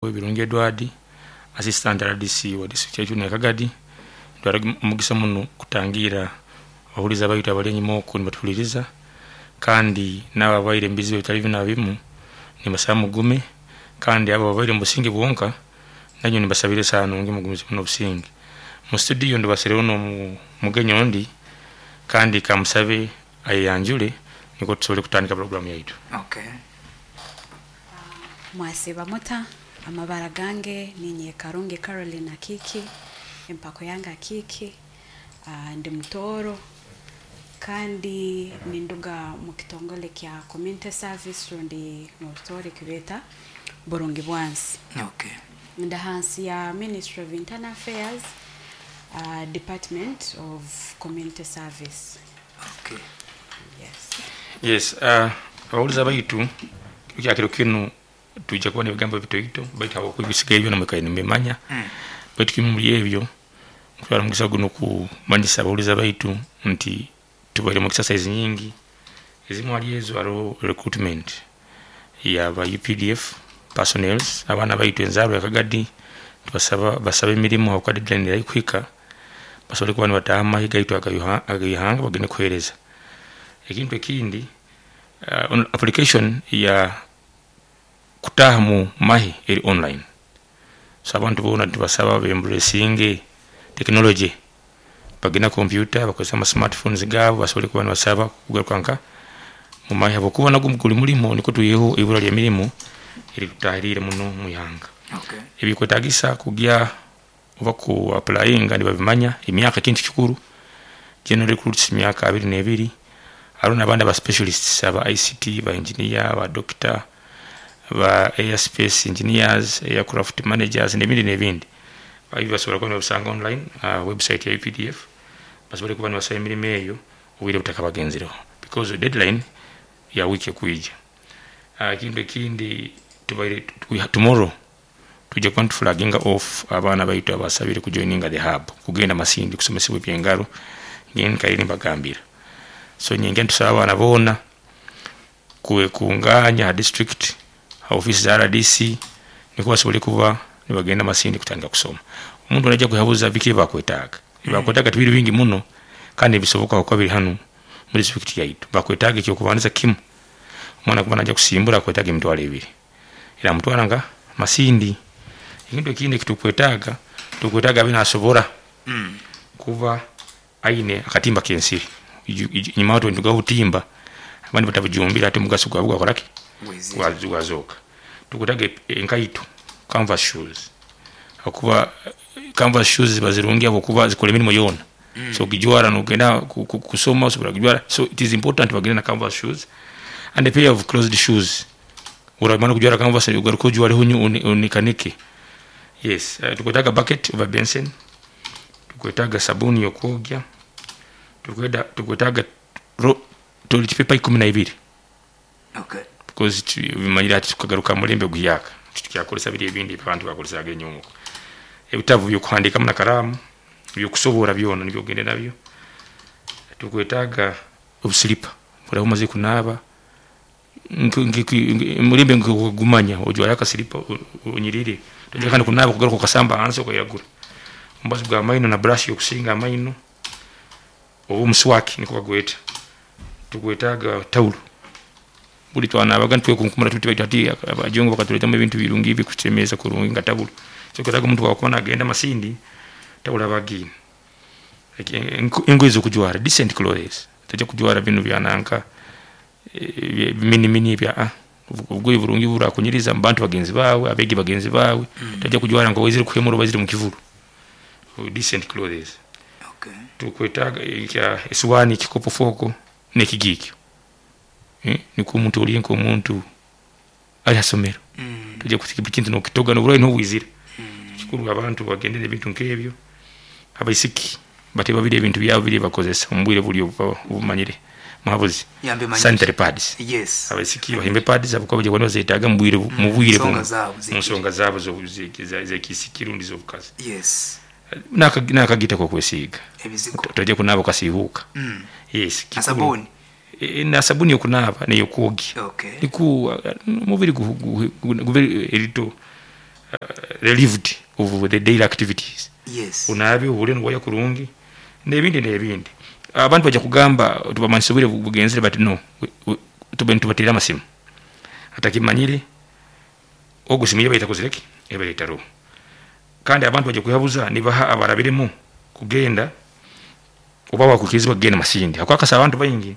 Birungi Edward, Assistant RDC wa district yaitu ya Kagadi. Ntwara omugisa muno kutangira abahuliza baitu abali enyuma oku nibatuhuliriza, kandi naabo ababaire omubizibu ebitali bimu nabimu nimbasaba mugume, kandi abo ababaire omubusinge bwonka nainywe nimbasabira esaaha nungi mugumizemu nobusinge. Mu studio ndubasireho nomugenyi ondi kandi kamusabe ayeyanjure nikwo tusobole kutandika program yaitu. Okay. Mwasiiba muta? Amabara gange ninye Karungi Caroline Akiki, empako yange Akiki, ndi Mutooro kandi ninduga mu kitongole kya Community Service rundi mu Rutooro ekibeeta Burungi Bwansi. Ndi hansi ya Ministry of Internal Affairs, Department of Community Service. Yes. Yes, abahuliza baitu, kiro kinu twija kuba nebigambo bitoito, baitu habwokuba ebisigaire byona mwikaire nimubimanya. Baitu kimu omuli ebyo, ntwara omugisa gunu kumanyisa abahuliza baitu nti tubaire mu exercise nyingi. Ezimu hali ezo haroho recruitment yaba UPDF personnels, abaana baitu enzarwa ya Kagadi nitubasaba basabe emirimu habwokuba deadline eri haihi kuhika, basobole kuba nibataaha mumahe gaitu ageihanga bagende kuhereza. Ekintu ekindi, application ya kutaaha mumahe eri online, so abantu boona nitubasaba ba embracinge technology, bagende ha computer bakozese ama smartphones gaabu basobole kuba nibasaba kugaruka nka mumahe habwokuba nagwo guli mulimo nikwo twiheho eibura lyemirimu eritutahirire muno mwihanga. Ebikwetagisa kugya oba ku applyinga nibabimanya, emyaka kintu kikuru, general recruits myaka 22, haroho nabandi aba specialists aba ICT, ba engineer, ba doctor, ba airspace engineers, aircraft managers nebindi nebindi. Ebi basobola kuba nibabisanga online ha website ya UPDF basobole kuba nibasaba emirimu eyo obwire butakabagenzireho because deadline ya week ekwija. Ekintu ekindi, tubaire tomorrow twija kuba nituflaginga off abaana baitu abasabire kujoininga the hub kugenda Masindi kusomesebwa ebyengaro nkaire nimbagambira. So nyenkya nitusaba abaana boona kwekunganya ha district ha ofisi za RDC nikwo basobole kuba nibagenda Masindi kutandika kusoma. Omuntu naija kwehabuza biki ebibakwetaaga, ebibakwetaaga tibiri bingi muno kandi nibisoboka habwokuba biri hanu omu district yaitu. Bakwetaaga ekyokubandiza kimu, omwana kuba naija kusimbura akwetaaga 20,000 eramutwara nka Masindi. Ekintu ekindi ekitukwetaaga, tukwetaaga abe nasobora kuba aine akatimba kensiri. Enyuma aho nitugaba obutimba abandi batabujumbire hati omugaso gwabwo gwakoraki? Gwazoka. Tukwetaaga enkaito, canvas shoes, habwokuba canvas shoes ziba zirungi habwokuba zikora emirimo yoona. Osobola kugijwara nogenda kusoma, osobola kugijwara, so it is important bagende na canvas shoes and a pair of closed shoes. Oramara kujwara canvas ogaruke ojwareho onikanike. Yes, tukwetaaga bucket oba benseni, tukwetaaga sabuni yokwogya, tukwetaaga toilet paper 12 because omanyire hati tukagaruka hamulembe oguhyaka, titukyakozesa biri ebindi ebi abantu bakozesaga enyuma oku. Ebitabu ebyokuhandikamu na karaamu, ebyokusoboora byona nibyo ogende nabyo. Tukwetaaga obusiripa, oraba omazire kunaaba, omulembe nkogumanya, ojwara akasiripa onyirire, toija kandi kunaaba kugaruka okasamba hansi okairagura. Omubazi gwamaino na brush yokusinga amaino oba omuswaki nikwo bagweta. Tukwetaaga tawulo, buli twanabaga nitwekunkumura tuti baitu hati abajungu bakatuletamu ebintu birungi ebikusemeza kurungi nka tawulo. So okwetaaga omuntu obwakuba nagenda Masindi, tawulo abe agiine. Engoye ezokujwara, decent clothes, toija kujwara binu ebyananka ebiminimini ebi, obugoye oburungi oburakunyiriza mubantu bagenzi baawe, abeegi bagenzi baawe, toija kujwara nkowaizire kuhemura oba oizire mukivuru, decent clothes. Tukwetaaga esowaani, ekikopo, fork nekigiiko, nikwo omuntu olye nkomuntu ali haisomero, toija kuhika buli kintu nokitoga noburwaire nuho bwizira. Kikuru abantu bagende nebintu nkebyo, abaisiki bateeba biri ebintu byabu biri ebibakozesa omubwire buli obumanyire muhabuzi, sanitary pads. Abaisiki bahimbe pads habwokuba nibaija kuba nibazetaaga mubwire bunu, munsonga zaabu ezekiisiki rundi ezobukazi. Nakagita kokwesiiga, toija kunaaba okasiihuuka. Yes, kikuru. Na sabuni yokunaaba neyokwogya nikwo omubiri gube erito. relieved of the daily activities. Yes. Onaabe, ohure niwaya kurungi, n'ebindi n'ebindi. Abantu bajja kugamba tubamanyisa obwire bugenzere, but no, tube nitubateera amasimu. Atakimanyire ogu simu ye bayitakozireki ebaitaroho. Kandi abantu bajja kwehabuza nibaha abarabiremu kugenda oba bakwikirizibwa kugenda Masindi akwakasa abantu baingi.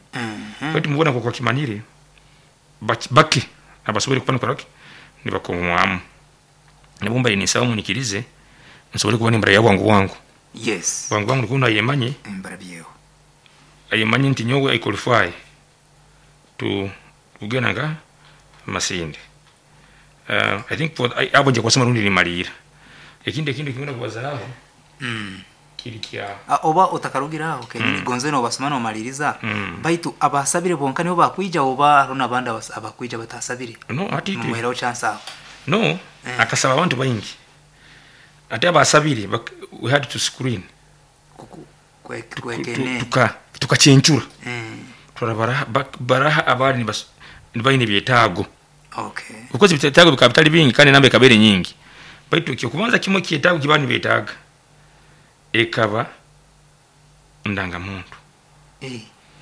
Baitu mubona nkoku bakimanyire bake abasobole kuba nikoraki nibakomwamu. Nabo mbaire ninsaba munyikirize nsobole kuba nimbaraya bwangu bwangu. Yes. Bwangu bwangu nikwo ayemanye. Mbarabyeho. Ayemanye nti nyowe I qualify to kugenda nga Masindi. I think for abo nja kubasoma rundi nimalira. Ekindi kingenda kubazaaho kiri kya Oba otakarugiraho kenyini gonze nobasoma nomaliriza. Baitu abasabire bonka nibo bakwija oba hariho n'abandi abakwija batasabire? No, ati mumuheraho chance aho. No, akasaba abantu baingi. Ate abasabire we had to screen. Kwekene. Tukachenchura. Turabara baraha abari nibaine byetaago. Okay. Because byetaago bikaba bitali bingi kandi namba ekabere nyingi. Baitu ekyo kubanza kimwe kyetaago kibani byetaaga. Ekaba ndangamuntu.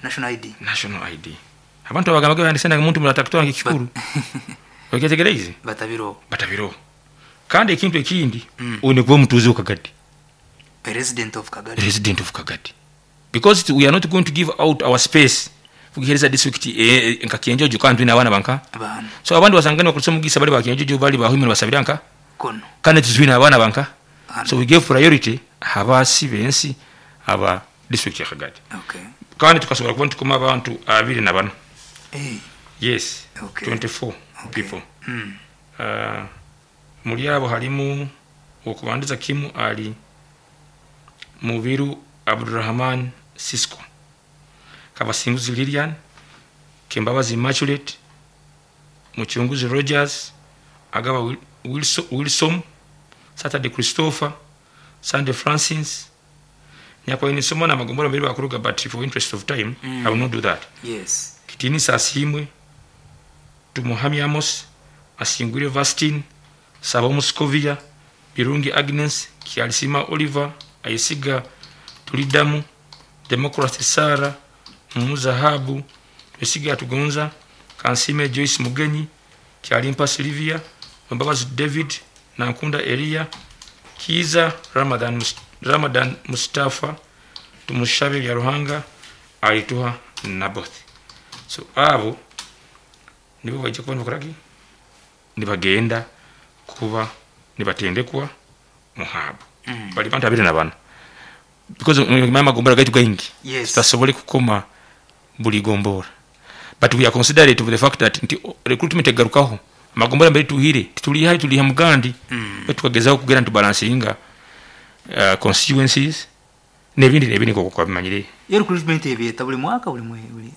National ID. National ID. Abantu abagamba bandise ndangamuntu muratakutwanga ekikuru. Okyetegereze? Batabiro. Batabiro. Kandi ekintu ekindi one kuba mutuuze wa Kagadi. A resident of Kagadi. Resident of Kagadi. Because we are not going to give out our space. Kugereza district nka Kienjojo kandi n'abana banka. Abana. So abandi basangana bakulisa mugisa bali ba Kienjojo bali bahimira basabira nka. Kono. Kandi tuzwina abana banka. Ano. So we gave priority abasi bensi aba district ya Kagadi. Okay. Kandi tukasobola kuba tukoma abantu 24. Yes. Okay. 24 Okay. people. Muri abo harimu okubandiza kimu ali Mubiru Abdurrahman Sisko, Kabasinguzi Lilian, Kembabazi Immaculate, Muchunguzi Rogers, Agaba Wilson, Saturday Christopher, Sunday Francis. Nyakwaini somo na magombora mbili bakuruga, but for interest of time I will not do that. Yes. Kitini Sasimwe, Tumuhami Amos, Asingwire Vastin, Sabo Muscovia, Birungi Agnes, Kialisima Oliver, Aisiga Tulidamu, Democracy Sara, Muzahabu, Twesiga Tugonza, Kansime Joyce Mugenyi, Kialimpa Silvia, Mbabazi David, Nankunda Elia, Kiza Ramadan Mustafa, Tumushabe ya Ruhanga, Alituha Naboth. So abo nibo bajja kuba nibakoraki nibagenda kuba nibatendekwa muhabo. Bali bantu 24. Because mama gombora gaitu gaingi. Yes. Tutasobole kukoma buli gombora. But we are considerate of the fact that nti recruitment egarukaho. Magombora mbere tuhire, tuliha tuliha mugandi. Tukagezaho kugera ntu balancinga constituencies nebindi koko kwabimanyire. Iyo recruitment ebiyeta buli mwaka buli buli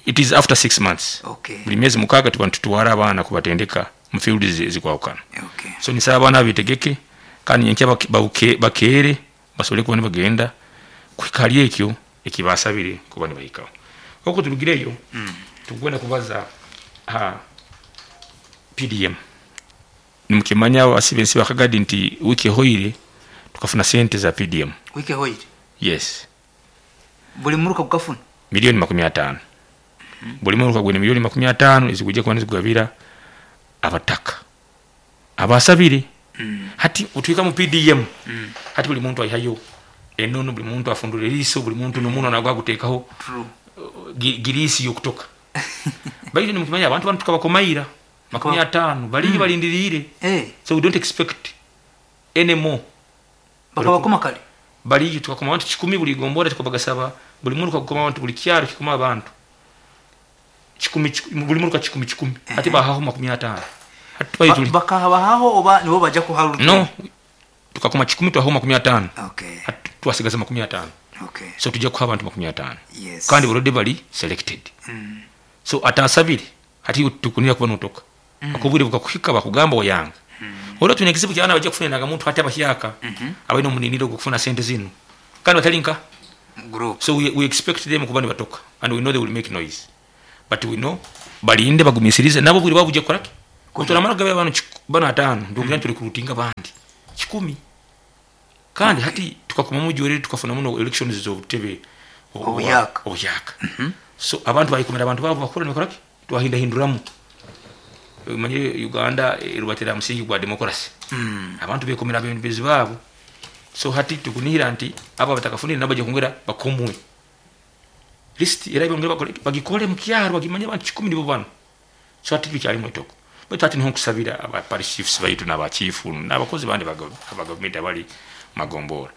It is after 6 months. Okay. Buli miezi 6 tuba tutwara abaana kubatendeka mu field zikwawukana. Okay. So nisaba abaana bitegeke kandi nyenkya bakere basobole kuba nibagenda kwikali ekyo ekibasabire kuba nibahikaho. Oko turugireyo tugenda kubaza ha PDM. Nimukimanya abasibe ba Kagadi nti wiki hoire tukafuna sente za PDM. Wiki hoire? Yes. Buli muruka gukafuna milioni 50. Buli muruka gwene milioni 50 ezikujja kuba nizigabira abataka abasabire. Hati utwika mu PDM. Hati buli muntu ayihayo enono, buli muntu afundura eriso, buli muntu nomuno nagwa gutekaho girisi yokutoka. Baitu nimukimanya abantu bantu tukabakomaira 50 bali balindirire. So we don't expect any more. Bakabakoma kale bali tukakoma abantu 10 buli gombora tukabagasaba buli muntu kagoma abantu buli kyaro kikoma abantu 10 buli muntu ka 10 ati bahaho 50. Hati bakahabaho oba nibo bajja kuharuka. No, tukakoma 10 twaho 50. Okay. Hati twasigaza 50. Okay. So tujja kuha abantu 50. Yes. Kandi already bali selected. So atasabire hati tukunira kuba notoka. Akubwire bukakuhika bakugamba oyanga. Ora tuna kizibu kyana bajja kufuna nagamuntu hati abahyaka. Abaino muniniro kufuna sente zino. Kandi batalinka group. So we expect them kuba nibatoka and we know they will make noise. But we know balinde bagumisirize nabo bwire babuje koraki. Kutoramara gabe abantu bana 5 ndogira tuli kurutinga bandi. 1,000. Kandi hati tukakomamu jwere, tukafuna muno elections z'obutebe Obuyaka. Obuyaka. So abantu bayikomera abantu babo bakora nibakora ki, twahindahinduramu. Manyire Uganda erubatira musingi gwa democracy. Abantu bekomera abebembezi baabo. So hati tukunihira nti abo batakafunire nabo bajja kwongera bakomwe list, era bongera bakole, bagikole mu kyaro, bagimanye abantu 1,000 nibo bano. So hati tukyalimu etoko, baitu hati niho nkusabira aba parish chiefs baitu n'abachifu n'abakozi bandi aba gavumenti abali magombora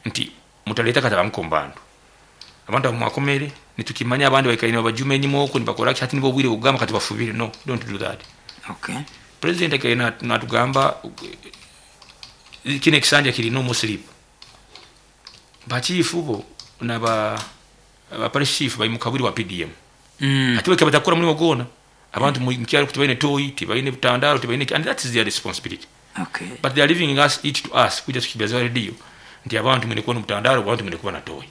nti mutaleta kata bamukombandu abantu abo mwakomere, nitukimanya abandi baikaine babajume enyuma okwo nibakora ki. Hati nibo obwire bugamba kati bafubire. No, don't do that. President akaine natugamba kino ekisanja kiri no more sleep. Bachifu bo naba aba parish chief bali mu kaburi wa PDM. Ati bwe batakora mulimo gwona, abantu mu kyalo tibaine toyi, tibaine butandalo, tibaine, and that is their responsibility. But they are leaving us it to us kuja tukibaza radio nti abantu mwine kuba n'obutandalo, abantu mwine kuba na toyi.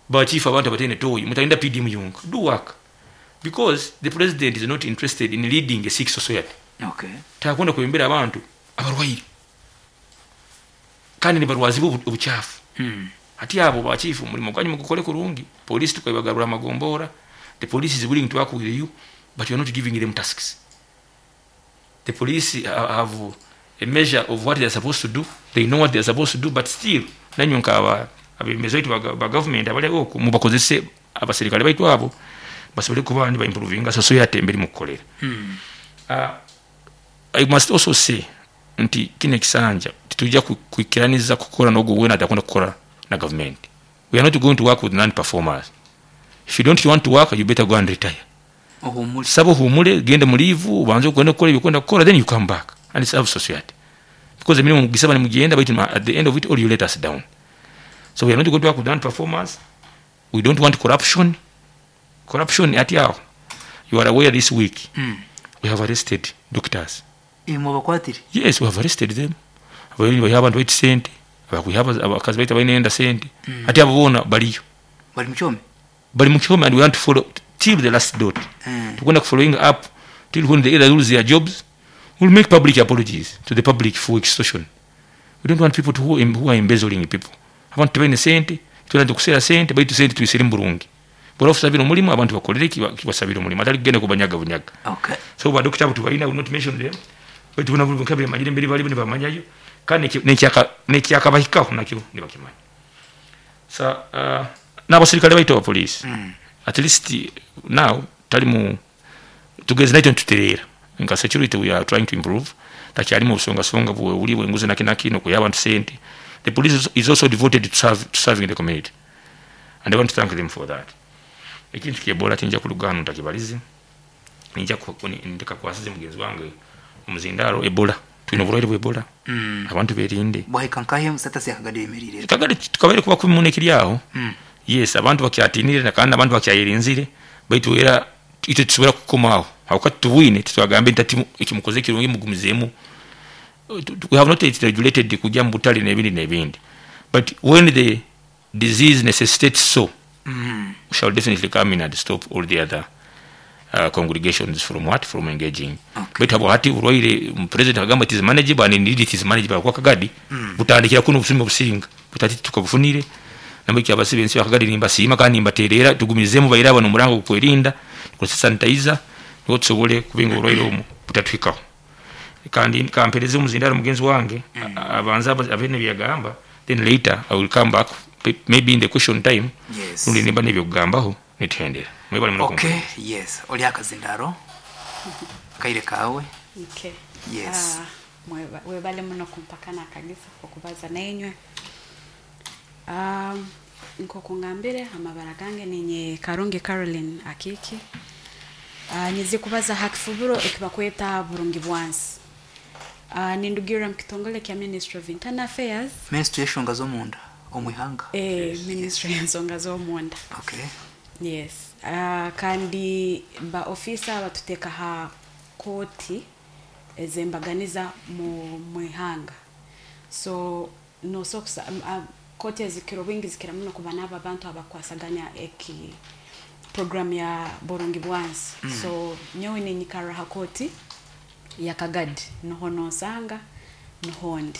Bachifu, abantu abatene toyi, mutalinda PDM yonka. Do work, because the president is not interested in leading a sick society. Takwenda kwembera abantu abarwaire kandi nibarwazibwa obukyafu. Ati abo bachifu, mulimo gwanyu mugukole kurungi. Police tukabagarura amagombora. The police is willing to work with you, but you are not giving them tasks. The police have a measure of what they are supposed to do. They know what they are supposed to do, but still nanywe nkaba abemezi baitu ba government abali okwo, mubakozese abaserikale baitu abo basobole kuba ndi baimprovinga society emberi mukukolera. I must also say nti kino ekisanja titujja kwikiraniza kukora n'ogwo wena atakunda kukora na government. We are not going to work with non performers. If you don't want to work, you better go and retire. Ohumule. Saba ohumule, gende mu leave, ubanze ugende gukora ibyo gukora, then you come back and serve society, because emirimu mugisaba nimugenda, but at the end of it all you let us down. So we are not going to work with non performers. We don't want corruption. Corruption ati aho, you are aware this week we have arrested doctors. Mubakwatire? Yes, we have arrested them. Abayini bayiha abantu baita sente, abakwiha abakazi baita bainenda sente. Ati abo bona baliyo. Bali mukyome. Bali mu kyome, and we want to follow till the last dot. Tugenda following up till when they either lose their jobs, we'll make public apologies to the public for extortion. We don't want people who are embezzling people. Abantu tebalina sente, tulina kusera sente, baitu sente tuyisire mu burungi. Bw'oba osabira omulimu, abantu bakolere kibasabira omulimu, atali kugenda kubanyaga bunyaga. So badokita abo tubalina, will not mention them, baitu bona buli nkabire manyire mbere bali nibamanyayo, kandi nekyakabahikaho nakyo nibakimanya. So n'abasirikale baitu aba police, at least now tali mu tugeze naito ntutereera nka security. We are trying to improve. Takyalimu obusongasonga bwe bwenguzi naki nokuya abantu sente. The police is also devoted to serving the community, and I want to thank them for that. Ekintu kyebola tinja kulugano ntakibalize, ninja ndikakwasize mugenzi wange omuzindalo. Ebola, tulina obulwaire bwa Ebola. Abantu berinde. Bwahika nkahe status yakagadi yemerire? Kagadi tukabaire kuba 14 kiri aho. Yes, abantu bakyatinire na kandi abantu bakyayirinzire, baitu era itwe tusobora kukomaho awakati tubwine titwagambe nti ati ekimukoze kirungi, mugumizeemu. We have not yet regulated kujja mu butale n'ebindi n'ebindi, but when the disease necessitates so, we shall definitely come in and stop all the other congregations from what, from engaging. Baitu abo hati burwaire, president agamba it is manageable, and indeed it is manageable, kwa Kagadi butandikira kuno obusumi obusinga butati tukabufunire. Nambiki abasibe ensi bakagadi nimbasiima kandi nimbaterera tugumizemu baire abano omurango gukwerinda, tukozesa sanitizer niho tusobole kubinga oburwaire omu butatuhikaho. Kandi kampereze omuzindaro mugenzi wange abanze abe nebyagamba, then later I will come back, maybe in the question time. Rundi nimba nebyokugambaho nituhendera. Mwebale muno. Okay, yes, oli akazindaro kaire kawe. Okay. Yes. Ah, webale muno kumpakana akagisa okubaza nainywe. Nk'oku ngambire, amabara gange ninye Karungi Caroline Akiki. Nyize kubaza ha kifubiro ekibakweta burungi bwansi. Nindugira mu kitongole kya Ministry of Internal Affairs. Ministry y'enshonga z'omunda omu ihanga. Ministry y'ensonga z'omunda. Yes. Kandi ba ofisa batuteeka ha kooti ezembaganiza mu mwihanga. So nosokusa kooti ezikira obwingi zikira muno kuba n'abo abantu abakwasaganya eki program ya burungi bwansi. So nyowe ninyikara ha kooti ya Kagadi, niho nonsanga, niho ndi.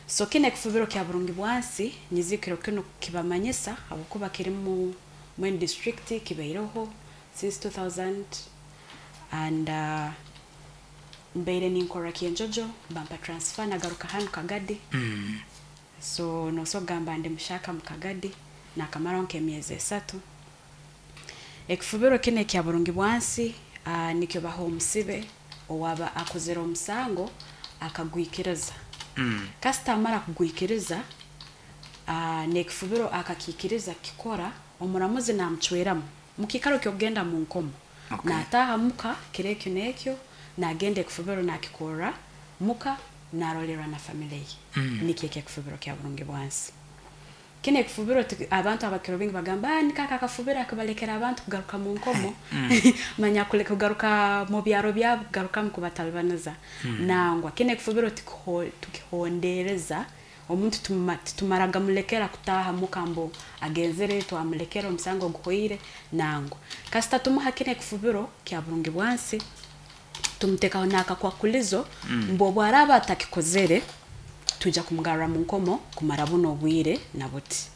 So kino ekifubiro kya burungi bwansi, nyizikiro kinu kibamanyisa habwokuba kirimu mwenu district, kibaireho since 2000 and mbaire ninkora Kyenjojo, bampa transfer nagaruka hanu Kagadi. So noso kugamba ndi mushaka mu Kagadi, nakamaraho nk'emyezi 3. Ekifubiro kino ekya burungi bwansi, nikyo baha omusibe owaba akozere omusango akagwikiriza. Kasita amara kugwikiriza, n'ekifubiro akakikiriza kikora, omuramuzi namucweramu mukikaro ky'okugenda mu nkomo. Nataha muka kiro ekyo n'ekyo, nagenda ekifubiro nakikorra muka, narolerwa na family ye. Nikyo ekyo ekifubiro kya burungi bwansi. Kino ekifubiro abantu abakiro bingi bagamba, nikaka akafubiro akabalekera abantu kugaruka mu nkomo. Manya kugaruka mu byaro byabo, kugarukamu kubatalibaniza. Nangwa kino ekifubiro tukihondereza omuntu, titumaraga mulekera kutaha muka mbu agenzere twamulekera omusango guhweire. Nangwa kasita tumuha kino ekifubiro kya burungi bwansi, tumutekaho n'akakwakulizo mbu obu araba atakikozere tujja kumugarra mu nkomo kumara buno obwire na buti.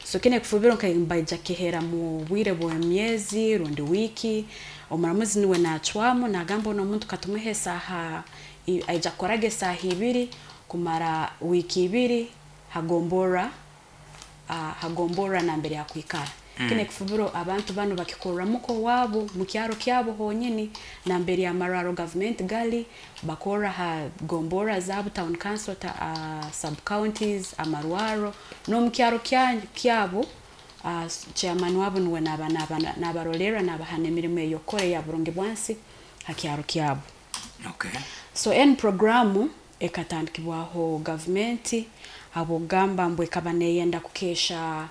So kino ekifubiro nka baija kihera mu bwire bw'emyezi rundi wiiki, omuramuzi niwe nacwamu, nagamba ono omuntu katumuhe esaaha, aija kukoraga esaaha 2 kumara wiiki 2 hagomborra, hagomborra nambere akwikara. Kino ekifubiro abantu banu bakikorra muka owaabo mu kyaro kyabo honyini, nambere amarwaro gavumenti gali, bakorra ha gomborra zaabo, town council, sub counties, amarwaro n'omu kyaro kyabo. Chairman wabo niwe nabarolerra, nabaha n'emirimo ey'okukora eya burungi bwansi ha kyaro kyabo. So eni programu ekatandikibwaho gavumenti habwokugamba mbu ekaba neyenda kukesha,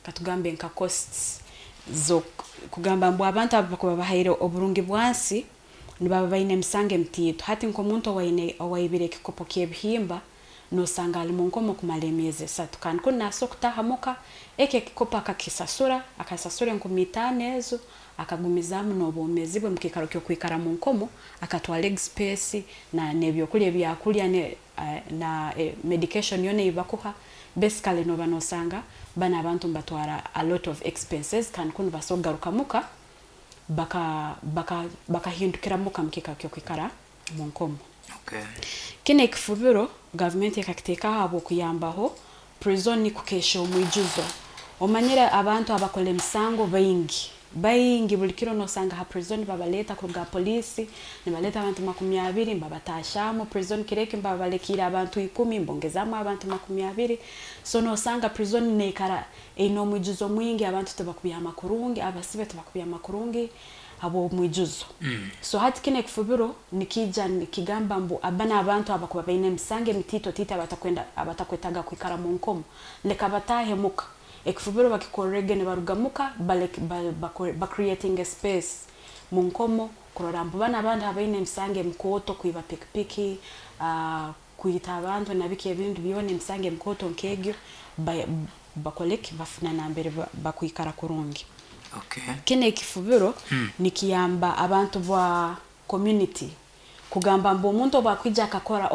katugambe nka costs zo kugamba mbu abantu abo bakuba bahaire oburungi bwansi nibaba baine emisango emitiito. Hati nk'omuntu owaibire ekikopo ky'ebihimba, nosanga ali mu nkomo kumara emyezi 3, kandi kunu nasobola kutaha muka, eki ekikopo akakisasura, akasasura 5000 ezo, akagumizaamu n'obwomeezi bwe mukiikaro ky'okwikara mu nkomo, akatwara expense na n'ebyokulya ebyakulya na medication yona ei bakuha. Basically noba nosanga bano abantu nibatwara a lot of expenses, kandi kunu basobola kugaruka muka bakahindukira muka mukiikaro ky'okwikara mu nkomo. Kino ekifubiro gavumenti ekakiteekaho habw'okuyambaho prison kukesha omwijuzo. Omanyire abantu abakora emisango baingi baingi, buli kiro nosanga ha prison babaleeta kuruga poliisi, nibaleeta abantu 20 mbabatashamu prison, kiro eki mbabalekiire abantu 10, mbongezamu abantu 20. So nosanga prison neikara eine omwijuzo mwingi, abantu tibakubyama kurungi, abasibe tibakubyama kurungi habw'omwijuzo. So hati kino ekifubiro nikija nikigamba mbu abana abantu abakuba baine emisango emitiito tiito, abatakwenda, abatakwetaga kwikara mu nkomo, leka batahe muka, ekifubiro bakikorrege nibaruga muka, ba creating a space mu nkomo kurora mbu bana abandi abaine emisango emikooto, kwiba pikipiki, kwita abantu nabiki ebindi byona, emisango emikooto nk'egyo, bakoleki, bafuna nambere bakwikara kurungi. Kino ekifubiro nikiyamba abantu ba community kugamba mbu omuntu obu akwija akakora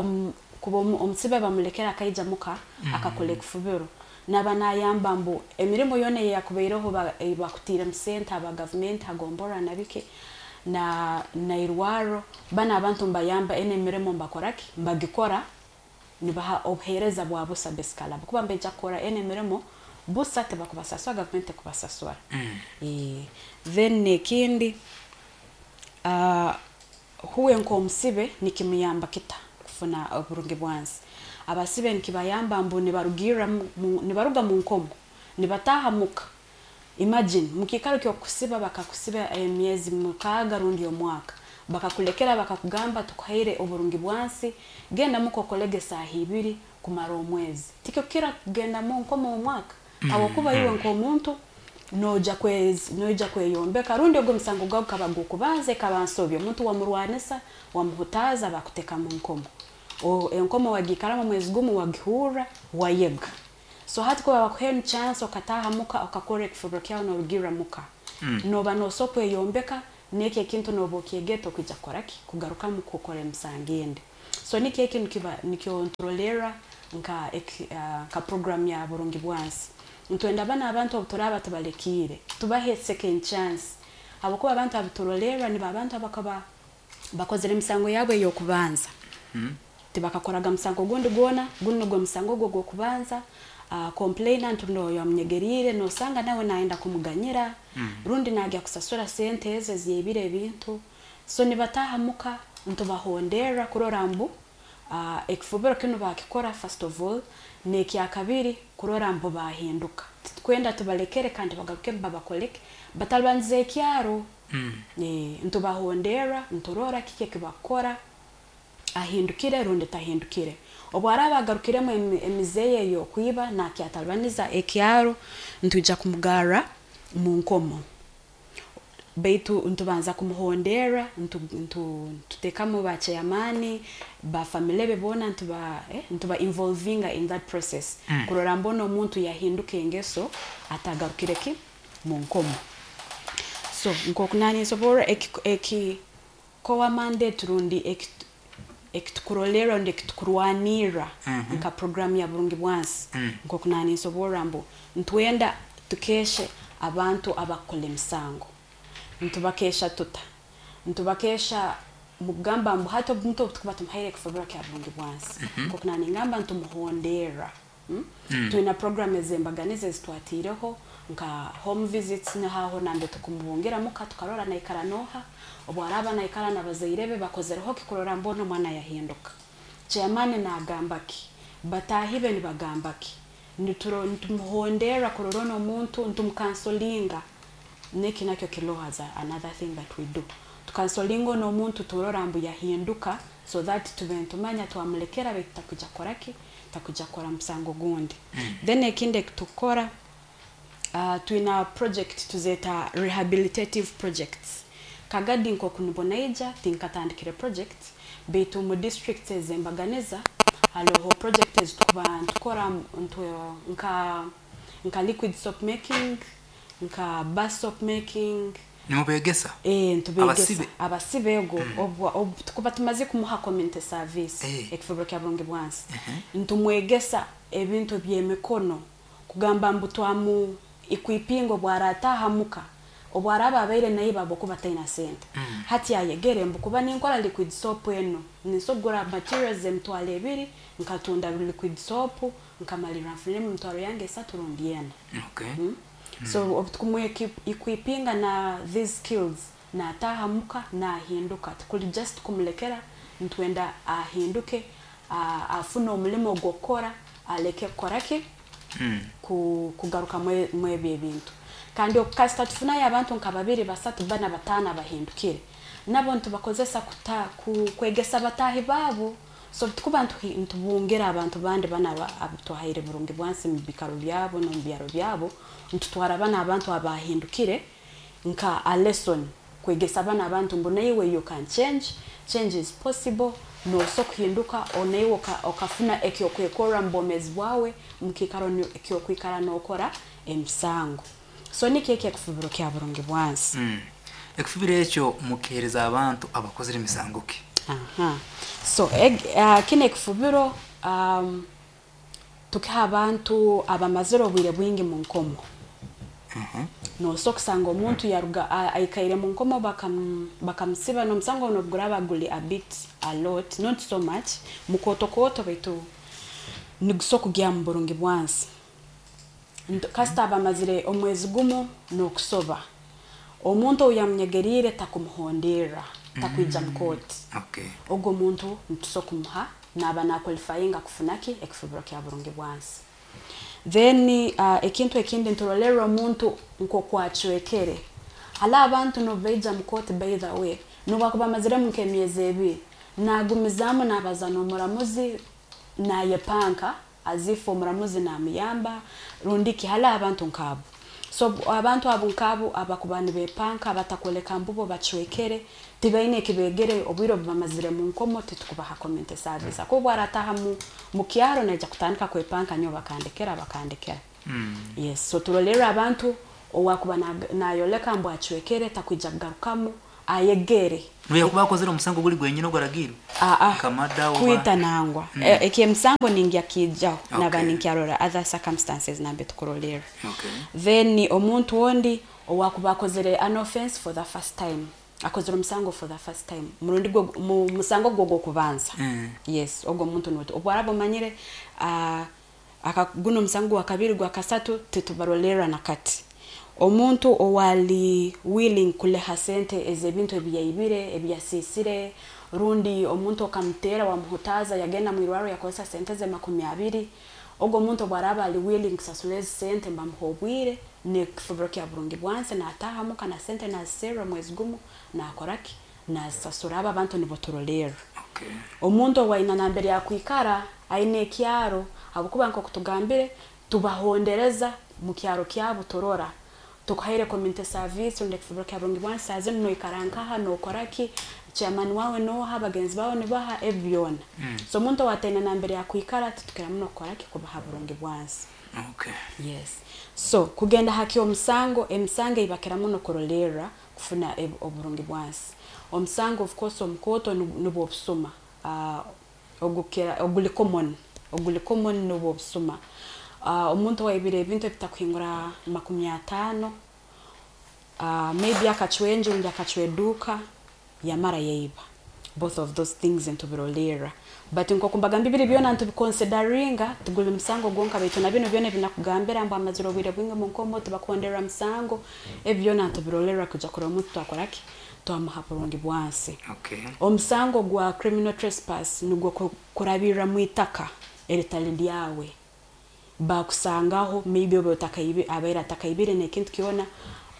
kuba omusibe bamulekera akaija muka akakora ekifubiro, naba nayamba mbu emirimo yona eyakubaireho bakutiiremu sente aba gavumenti hagombora nabiki na nairwaro, bana abantu mbayamba ene emirimo mbakoraki, mbagikora, nibaha obuheereza bwa busa basically, kuba mbeija kukora ene emirimo busa, tibakubasasura, gavumenti tekubasasura. Then ekindi, huwe nk'omusibe nikimuyamba kita kufuna oburungi bwansi? Abasibe nikibayamba mbu nibarugirra nibaruga mu nkomo nibataha muka. Imagine mukiikaro ky'okusiba, bakakusiba emyezi 6 rundi omwaka, bakakulekera, bakakugamba tukuhaire oburungi bwansi, genda muka okolege esaaha 2 kumara omwezi, tikyo kira kugenda mu nkomo omwaka, habwokuba iwe nk'omuntu noija kweyombeka, rundi ogwo omusango gwawe gukaba gw'okubanza, ekaba nsobi, omuntu wamurwanisa, wamuhutaaza, bakuteka mu nkomo. Enkomo wagiikaramu omwezi gumu, wagihurra, wayega. So hati kuba bakuhaire chance okataha muka okakora ekifubiro kyawe norugirra muka, noba nosobola kweyombeka, n'ekyo ekintu noba okyegete okwija kukoraki, kugarukamu kukora emisango endi. So nikyo eki nikiba nikyo nturolerra nka nka program ya Burungi Bwansi. Ntwenda bana abantu obu turaaba tubalekiire tubahe second chance, habwokuba abantu abaturolerra nibo abantu abakaba bakozere emisango yabo ey'okubanza, tibakakoraga musango gundi gwona, gunu nugwo musango gwo gw'okubanza. Complainant noyo amunyegeriire nosanga nawe nayenda kumuganyira, rundi nagya kusasura sente ezo eziyebire ebintu. So nibataaha muka, ntubahonderra kurora mbu ekifubiro kinu bakikora first of all, n'ekyakabiri kurora mbu bahinduka. Titukwenda tubalekere kandi bagaruke babakoleke batalibaniza ekyaro. Ntubahonderra, nturora kiki ekibakukora, ahindukire rundi tahindukire. Obu araaba agarukiremu emize ye ey'okwiba nakyatalibaniza ekyaro, ntwija kumugarra mu nkomo, baitu ntubanza kumuhonderra, ntuteekamu ba chairman ba family be boona, ntuba involvinga in that process kurora mbona omuntu yahinduka engeso, atagarukire ki mu nkomo. So nk'oku naninsoborra, eki core mandate rundi ekitukurolerra rundi ekitukurwanirra nka program ya Burungi Bwansi, nk'oku naninsoborra mbu ntwenda tukeshe abantu abakukora emisango. Ntubakesha tuta? Ntubakesha mukugamba mbu hati omuntu obu tukuba tumuhaire ekifubiro kya Burungi Bwansi, nk'oku naningamba, ntumuhonderra. Twina program ez'embaganiza ezitwatiireho nka home visits, nihaho nambe tukumubungira muka, tukarora naikara noha, obu araaba naikara n'abazaire be bakozereho ki kurora mbona omwana yahinduka, chairman nagamba ki, bataahi be nibagamba ki. Nitumuhonderra kurora ono omuntu, ntumucounselinga. Neki nakyo kiroho as another thing that we do, tucounselinga ono omuntu, turora mbu yahinduka, so that tube ntumanya twamulekera baitu takuja kukora ki, takuja kukora musango gundi. Then ekindi ekitukukora, twina project tuzeeta rehabilitative projects. Kagadi nk'oku nibonaija tinkatandikire project, baitu mu districts ez'embaganiza hariho project ezitukuba ntukora nka liquid soap making, nka bar soap making. Nimubegesa? Ntubegesa. Abasibe? Abasibe ego. Obu tukuba tumaze kumuha community service, ekifubiro kya Burungi Bwansi, ntumwegesa ebintu by'emikono, kugamba mbu twamu equipinga, obu arataha muka, obu araba abaire naiba habwokuba taina sente, hati ayegere mbu kuba ninkora liquid soap eno ninsobora kugura materials 20,000, nkatunda liquid soap, nkamalirra nfuniremu emitwaro yange 3 rundi 4. So obu tukumwequipinga na these skills, nataha muka nahinduka. Tikuli just kumulekera, ntwenda ahinduke, afune omulimo gw'okukora, aleke kukora ki, kugaruka mwebyo ebintu. Kandi kasita tufunayo abantu nka babiri, basatu, bana, bataano abahindukire, nabo ntubakozesa kwegesa bataahi baabo. So tukuba ntubungira abantu bandi bana abutwahaire Burungi Bwansi mu bikaro byabo n'omu byaro byabo, ntutwara bana abantu abahindukire nka a lesson kwegesa bana abantu mbu naiwe you can change, change is possible, noso kuhinduka onaiwe okafuna ekyokwekorra mu bwomeezi bwawe mukikaro ekyokwikara n'okora emisango. So nikyo eki ekifubiro kya Burungi Bwansi. Ekifubiro ekyo mukihereza abantu abakozere emisango ki? Aha. So kino ekifubiro tukiha abantu abamazire obwire bwingi mu nkomo. Noso kusanga omuntu yaruga aikaire mu nkomo, bakamusiba n'omusango ono guraba guli a bit a lot, not so much mukooto, baitu niguso kugya mu Burungi Bwansi. Kasita abamazire omwezi gumu n'okusoba, omuntu owu yamunyegeriire takumuhonderra, takwija mu kooti, ogwo omuntu nituso kumuha naaba naqualifyinga kufuna ki, ekifubiro kya Burungi Bwansi. Then ekintu ekindi, nturolerra omuntu nk'okwacwekere. Hali abantu nobu baija mu kooti, by the way, nobwakuba amaziremu nk'emyezi 2, nagumizaamu nabaza n'omuramuzi, nayepanka as if omuramuzi namuyamba rundi ki. Hali abantu nk'abo, so abantu abo nk'abo abakuba nibepanka, batakwoleka mbubo bacwekere, tibaine ekibegere obwire obu bamazire mu nkomo, titukubaha community service, akuba obu arataha mu kyaro naija kutandika kwepanka, nyowe bakandekera, bakandekera. Yes, so turolerra abantu owakuba nayoleka mbu acwekere, takwija kugarukamu. Ayegere. Noyakuba akozere omusango guli gwenyine ogwaragirwe? Aa. Nka murder oba- Kwita nangwa. Ekyemusango ningya kijaho naba ninkyarora other circumstances nambe tukurolera. Then omuntu ondi owakuba akozere an offense for the first time, akozere omusango for the first time, murundi gwo mu musango gwo gwokubanza. Yes, ogwo omuntu niwe obwaraba omanyire, guno omusango gwa kabiri, gwa kasatu, titubarolera nakati. Omuntu owali willing kuleha sente ez'ebintu ebiyaibire, ebiyasisire, rundi omuntu okamutera wamuhutaza, yagenda mwirwaro yakozesa sente ze 20, ogwo omuntu obwaraba ali willing kusasura ezi sente, mbamuha obwire nekifubiro kya burungi bwansi, nataha muka na sente naziserra mwezi gumu, nakoraki, nazisasura. Abo abantu nibo turolerra. Omuntu owaina nambere yakwikara, aine ekyaro, habwokuba nkoku tugambire tubahondereza mu kyaro kyabo, turora tukuhaire community service rundi ekifubiro kya burungi bwansi, saa zinu noikara nkaha, nokoraki, chairman wawe noha, bagenzi bawe nibaha, ebi byona. So omuntu owataine nambere yakwikara titukira muno kukoraki, kubaha burungi bwansi. Yes, so kugenda haki omusango, emisango eibakira muno kurolerra kufuna oburungi bwansi, omusango of course omukooto nubwo obusuma, ogukira oguli common, oguli common nubwo obusuma. Omuntu owaibire ebintu ebitakuhingura 50, maybe akacwa enju rundi akacwa eduuka yamara yaiba, both of those things ntubirolerra. But nkoku mbagamba, biri byona ntubiconsideringa, tiguli musango gwonka, baitu na bino byona ebinakugambira mbu amazire obwire bwingi mu nkomo tibakuhonderera musango, ebi byona ntubirolerra kuja kurora omuntu twakoraki, twamuha burungi bwansi. Omusango gwa criminal trespass nugwo kurabirra mu itaka eritali ryawe, bakusangaho maybe oba abaire atakaibire n'ekintu kyona,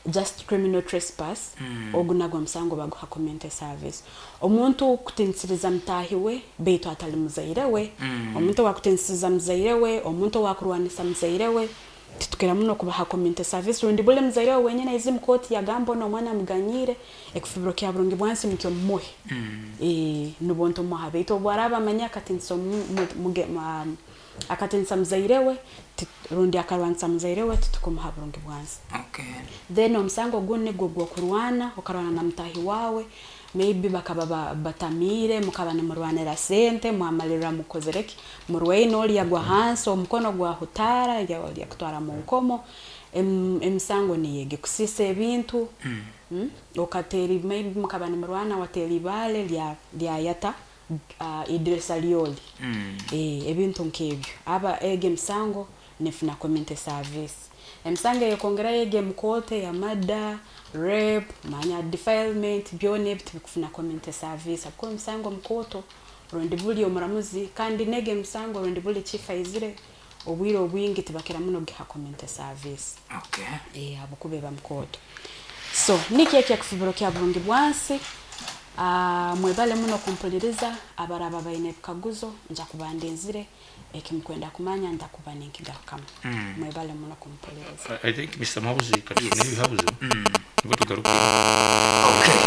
just criminal trespass. Ogu nagwo omusango baguha community service. Omuntu kutinisiriza mutahi we beitu atali muzaire we, omuntu owakutinisiriza muzaire we, omuntu owakurwanisa muzaire we, titukira muno kubaha community service. Rundi buli muzaire we wenyine aize mu kooti yagamba ono omwana amuganyire, ekifubiro kya burungi bwansi nikyo mumuhe. Nubwo ntumuha, beitu obu araaba amanya akatinisa akatinisa muzaire we rundi akarwanisa muzaire we, titukumuha burungi bwansi. Then omusango ogundi nigwo gw'okurwana, okarwana na mutahi wawe, maybe bakaba batamiire, mukaba nimurwanira sente, mwamalirra mukozere ki, murwaine, oli yagwa hansi omukono gwahutaara, yakutwara mu nkomo. Emisango niyo egi, kusiisa ebintu, okateera, maybe mukaba nimurwana wateera ibaale lyayata idirisa lyoli. Ebintu nk'ebyo, aba egi emisango nefuna community service. Emisango eyekongerayo egi emukooto ya murder, rape, manya defilement, byona ebi tibikufuna community service habwokuba emisango mukooto rundi buli omuramuzi, kandi negi emisango rundi buli chief aizire, obwire obwingi tibakira muno kugiha community service. Habwokuba eba mukooto. So nikyo eki ekifubiro kya burungi bwansi. Mwebale muno kumpuliriza. Abaraba baine ebikaguzo, nja kuba ndinzire, ekimukwenda kumanya ndakuba ninkigarukamu. Mwebale muno kumpuliriza. I think Mr. Muhabuzi katufune ebihabuzo nibwo tugaruke. Okay.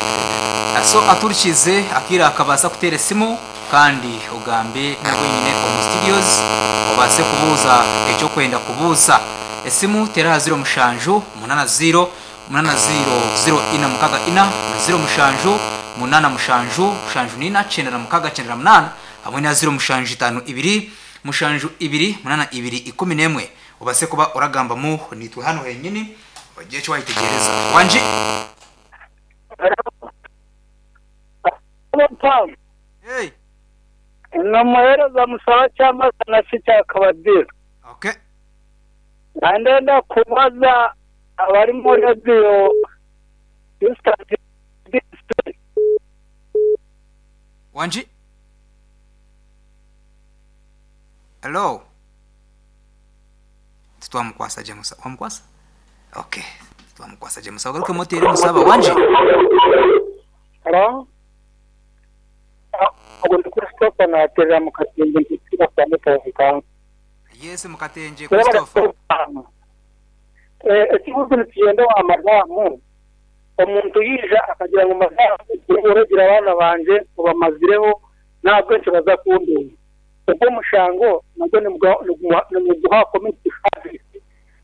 So aturikize akira akabasa kuteera esimu kandi ogambe nabwenyine omu studios, obase kubuuza ekyokwenda kubuuza. Esimu tera aha 0780 800464 na 0787 74 96 98 hamwe na 0752 72 82 11, obase kuba oragambamu nitwe hano henyini, ogiye ekyo wayitegereza wangi. Hey. Nomuheereza musaba kyamazana si kyakabadiro. Ndenda kubaza abari muri radiyo. Wangi, hello, titwamukwasa gye musa, wamukwasa? Okay, titwamukwasa gye musa, ogaruke motere musaba wangi. Hello? Ogwo ndi Christopher naterera mu Katenje mpitira kwa Mutonka. Yes, Mukatenje Christopher. Ekibuzo nikigenda wa madamu, omuntu yija akagira ngu madamu uragira abaana banje ubamazireho ntabwo nkibaza kundeba, ubwo omushango nabwo nimuguha community service,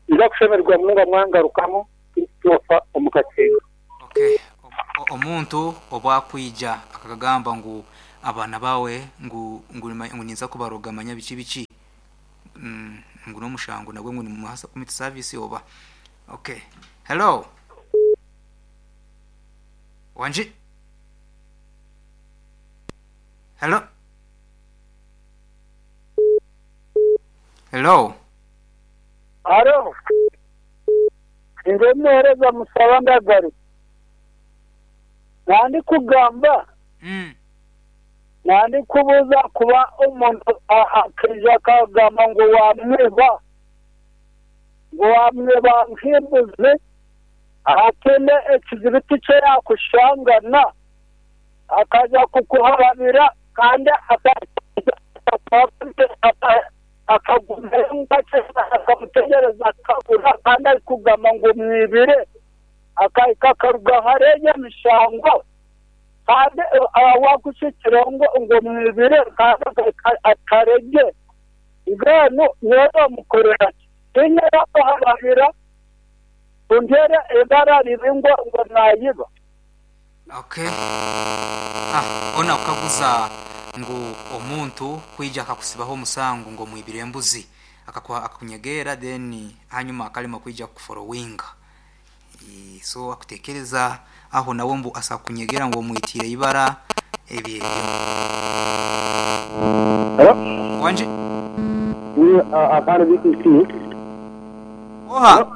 nza kushemererwa munonga mwangarukamu. Christopher omu Katenje. Okay. Omuntu obwakwija akagamba ngu abaana bawe ngu ngu ninza kubaroga manya biki biki, ngu n'omushango nagwe ngu nimuhasa community service oba. Okay, hello, wangi, hello, hello. Haro, nze muhereza Musaba Ndagaruka. Nandi kugamba, nandi kubuuza kuba omuntu akaija akagamba ngu wamwiba, ngu wamwiba nk'embuzi, ahatine ekizibiti kye yakushangana, akaja kukuharabira kandi akagumira akamutegereza akabura, kandi arikugamba ngu mwibire, akahika akaruga hariya emishango, kandi wakushikira ngo mwibire kandi akarege, mbwenu niwe bamukorera ki? Tinyine kuharabira untere ibara ribi ngo nayiba. Okay. Ona kukaguza ngu omuntu kwija akakusibaho omusango ngo mwibire embuzi, akakunyegera then hanyuma akalema kwija kuforowinga. So akutekereza aho nawe mbu asakunyegera ngo omwitire ibara ebyo. Hello? Wanje? Ni akana BTC. Oha.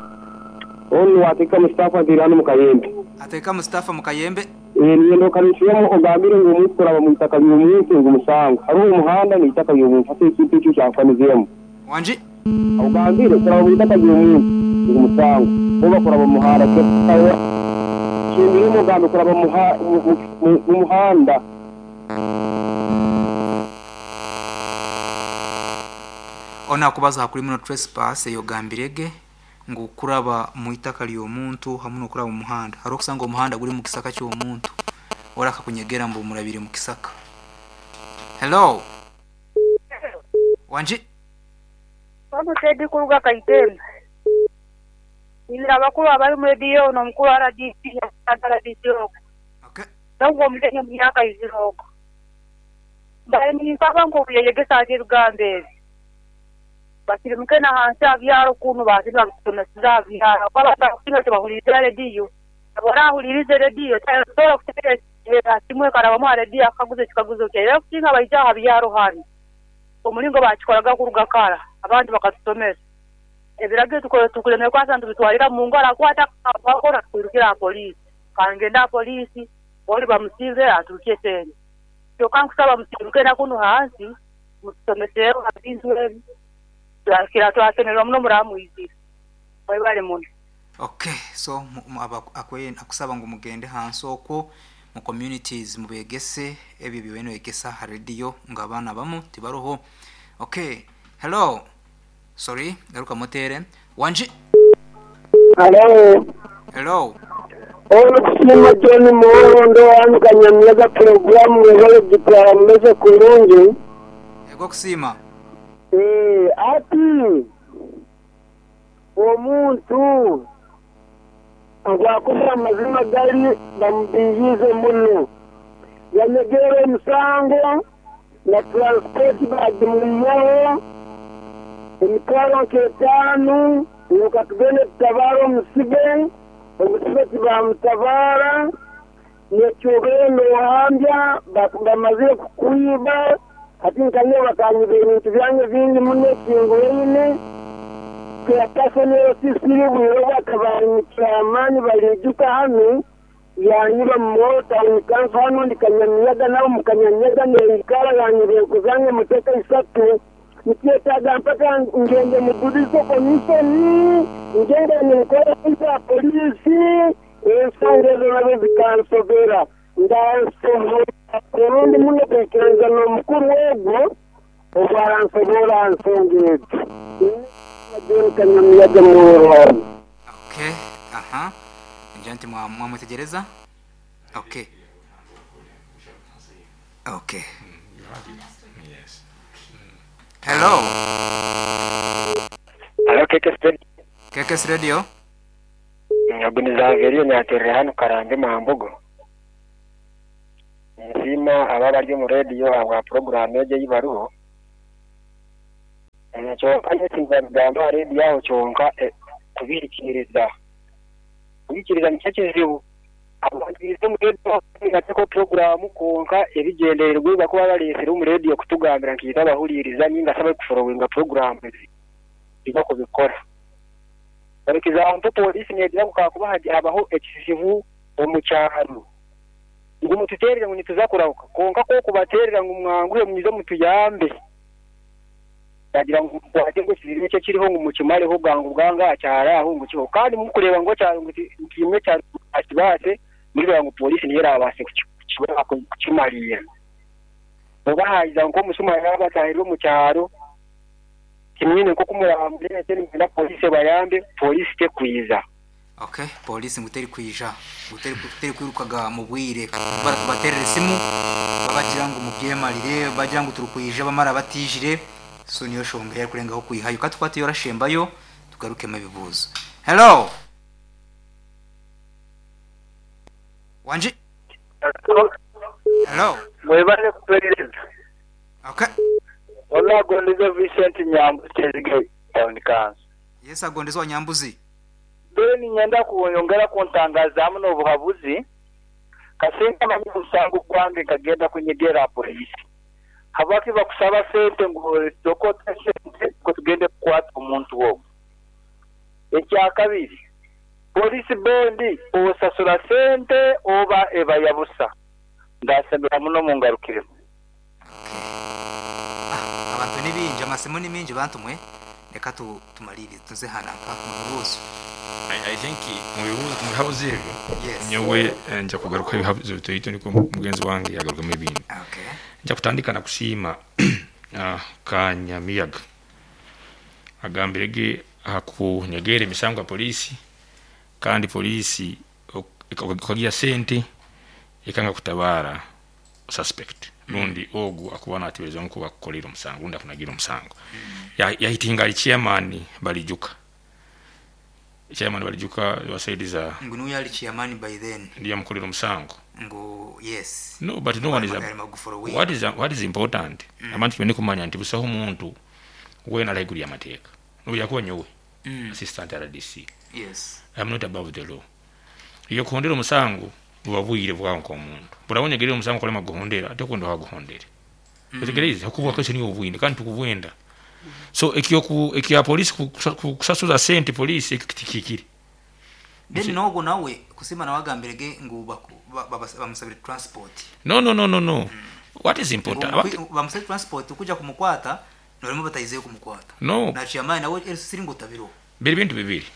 Onu wateka Mustafa Ndirano Mukayembe. Ateka Mustafa Mukayembe. Niendo kanishimu ogambire ngo umuntu kuraba mu itaka by'umuntu ngo umusango. Hari umuhanda ni itaka by'umuntu ate ikintu cyo cyafanizemo. Wanje? Ogambire kuraba mu itaka by'umuntu ngo umusango. Oba kuraba mu muhanda cyo. Kimbire umugambi kuraba mu muhanda. Ona kubaza kuri muno trespass yogambirege ngu kuraba mu itaka ly'omuntu hamwe no kuraba mu muhanda. Hari okusanga omuhanda guri mu kisaka cy'omuntu ora akakunyegera mbu murabire mu kisaka. Hello. Wanji? Wano Teddy kuruga Kaitembe. Ngira abakuru abari mu radio no mukuru RDC RDC oko. Okay. Nabwo mutenye mu myaka iziroko. Bari ninsaba ngo buyegesa ati rugambe. Basirimuke na hansi abyaro kuntu bazira kutunasiza abyaro. Baba bakina tubahuriza radio. Abarahuririze radio tatora kutekereza kimwe karaba mu radio akaguze kikaguze cyera kutinka bayija abyaro hano. Omulingo bakikoraga kuruga kara abandi bakatusomesa. Ebiragiro tukora tukulemera kwasa ntubitwarira mu ngara kwata bakora kwirukira polisi. Kangenda polisi boli bamusize aturukie sente. Kyoka nkusaba musiruke na kuno hansi mutusomesero abintu ebi. Twakira twasemererwa muno muramwizira. Bali muno. Okay, so akusaba ngo mugende hansi okwo mu communities mubegese ebyo by'eno egesa ha radio nga abana bamu tibaroho. Okay, hello. Sorry, garuka motere. Wanji? Hello. Hello. Ono kusima John Murondo wanyu programu wale gitara meze kurungi. Ego kusima. Ati omuntu agwakuba amazima gari bamubiyize muno. Yanyegere omusango na transport bagimuyeho emitwaro nk'etaano nuka tugende tutabara omusibe tibamutabara nekyogendo ohambya bamazire kukwiba ati nkanye bakanyiba ebintu byange bingi muno ekinguraine kuyakasonero sisiri bwiro bakabanikira balijuka hano yanyiba mu town hano ndikanyamiyaga nabo mukanyamiyaga neikara yanyiba enkuzange muteka isatu nikyetaaga mpaka ngende mu judicial commission ngende ninkora ya polisi ensonga ezo nazo zikansobera ndansobora kurundi muno kwikiriza n'omukuru ogwo obwaransobora nsonga ezo. Okay, aha. Njanti mwamwetegereza? Okay. Okay. Yes. Hello. Hello, KKS Radio. KKS Radio. Nyabuniza Averio nyaterera hano Karambe Mambogo. Nsiima abo abari omu rediyo ahabwa puroguraamu egi ei bariho. Kyonka nyowe tindabigamba aha rediyo aho kyonka kubihikiiriza. Kubihikiiriza nikyo kizibu. Abantu baija omu rediyo bateekaho puroguraamu kwonka ebigyendererwa ebi barikuba bareetsire omu rediyo kutugambira nkaitwe abahuriiriza nainga shi abarikuforowinga puroguraamu ezi tibakubikora. For example, pooriisi neegira ngu kakuba habaho ekizibu omu kyaro ngu mututeerere ngu nituza kurahuka kwonka ku orikubateerera ngu mwanguhe mwije mutuyambe, bagira ngu mukwate ngu ekizibu eki ekiriho ngu mukimareho bwangu bwangu aha kyaro aho ngu kihweho. Kandi murikureeba ngu ekyaro ngu nkaimwe ekyaro mutakibaase, murireeba ngu pooriisi niyo eraabaase kukimariira. Oba haaija nk'omushuma yaabataahirira omu kyaro, timwine nk'oku muraamureete nimwenda pooriisi ebayambe, pooriisi tekwija. Okay, poliisi ngu terikwija, ngu terikwirukaga mu bwire. Barikubateerera esimu babagira ngu mubyemarire, bagira ngu turikwija bamara batiijire, so niyo shonga ei arikurengaho kwihayo. Ka tukwateyo orashembayo tugarukemu ebibuuzo. Hello! Wangi? Hello! Mwebale kutuhereza. Okay. Onagondeze Vincent Nyambuzi Kyezige Town Council. Yes agondeze wa Nyambuzi. Mbere niinyenda kunyongera kuntangazaamu n'obuhabuzi, kasinga manya omusango gwange nkagenda kunyegera ha poliisi. Habwaki bakusaba sente ngu sooka ote sente nukwo tugende kukwata omuntu ogu? Ekyakabiri, poliisi bondi osasura sente oba eba ya busa? Ndasemera muno mungarukiremu. Okay. Ah, abantu ni baingi, amasimu ni maingi bantu mwe, reka tu tumariirize tuze aha nanka mu bibuuzo. I think mu bibuuzo mu bihabuzo ebyo Yes. nyowe nja kugaruka ebihabuzo bitoito nikwo mugenzi wange yagarukamu ebindi. Okay. Nja kutandika na kusiima Kanyamiyaga agambire ge aha kunyegeera emisango ya poliisi kandi poliisi okagiha sente ekanga kutabaara suspect rundi ogu akuba nateberezibwa ngu akukoreire omusango rundi akunagiire omusango. Yahitinga ari chairman Balijuka. Chairman Balijuka wa side za Ngu niwe yari chairman by then. Ndiyo yamukorera omusango. Ngu yes. No, but no one is what is what is important abantu twine kumanya nti busaho omuntu weena ari haiguru y'amateeka nobu yakuba nyowe assistant RDC. Yes. I am not above the law. Iwe kuhondera omusango buba bwire bwawe nk'omuntu. Buraba onyegerire omusango okarema kuguhondera, tokwenda ohaguhondere. Otegereize? Habwokuba bwakaiso niiwe obwine kandi tukubwenda. So ekya poliisi kukusasuza sente poliisi ekyo tikihikire. Then n'ogwo nawe kusiima nawe agambire ge ngu bamusabire transport. No no no no no. What is important? Ngu bamusabire transport kuja kumukwata norema bataizeyo kumukwata. No. Na chairman nawe LC ngu tabiroho. Biri bintu bibiri.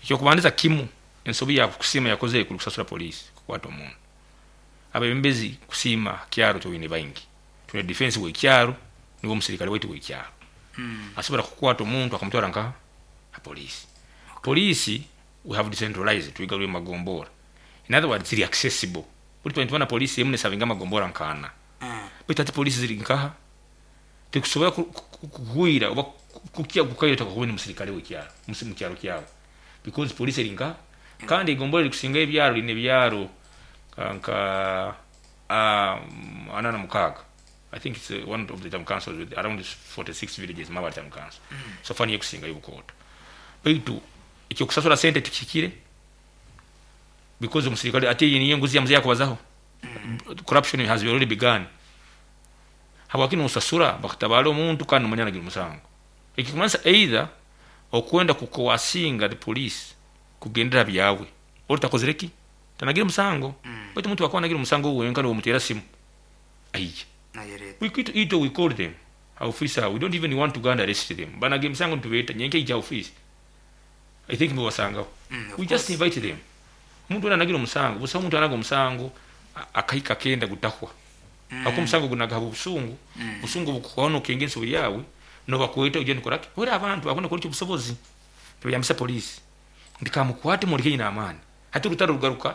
Ekyokubandiza kimu, ensobi ya Kusiima yakozere kuli kusasura poliisi kukwata omuntu. Abebembezi Kusiima kyaro twine baingi. Twine defense w'ekyaro niwe omusirikale waitu w'ekyaro. Asobora kukwata omuntu akamutwara nka ha poliisi. Poliisi we have decentralized, twigarwire omu magombora. In other words ziri accessible. Buri twine nitubona poliisi emu nesavinga amagombora nk'ana. Baitu hati poliisi ziri nkaha? Tikusobora kuhwira oba kukya kukaire otakakubona omusirikale w'ekyaro mu kyaro kyawe because poliisi eri nkaha? Kandi egombora erikusinga ebyaro riine ebyaro nka 46. I think it's one of the town councils with around 46 villages Mabare town council. So far niyo ekusingayo obukooto. Baitu ekyokusasura sente tikihikire because omusirikale ati eyo niyo enguzi ya mzee yakubazaho. Corruption has already begun. Habwaki nosasura bakutabaara omuntu kandi nomanya anagire omusango? Ekikumanyisa either okwenda ku coercinga the police kugendera ha byawe ori takozire ki? Tanagire musango. Baitu omuntu wakuba anagire omusango wenka nomuteera simu aija. Itwe we call them ha office aho, we don't even want to go and arrest them. Banaga emisango nitubeeta nyenka ija ha office. I think mubasangaho. We just invite them. Omuntu wena anagire omusango, busaho omuntu anaga omusango akahika akenda gutahwa. Habwokuba omusango gunaga habw'obusungu, obusungu obukuhwaho nokenga ensobi yawe, nobakweta oije nokora ki? Wera abantu bakwenda kukora eky'obusobozi, nibayambisa police nti kamukwate mwoleke nyine amaani. Hati orutaro rugaruka,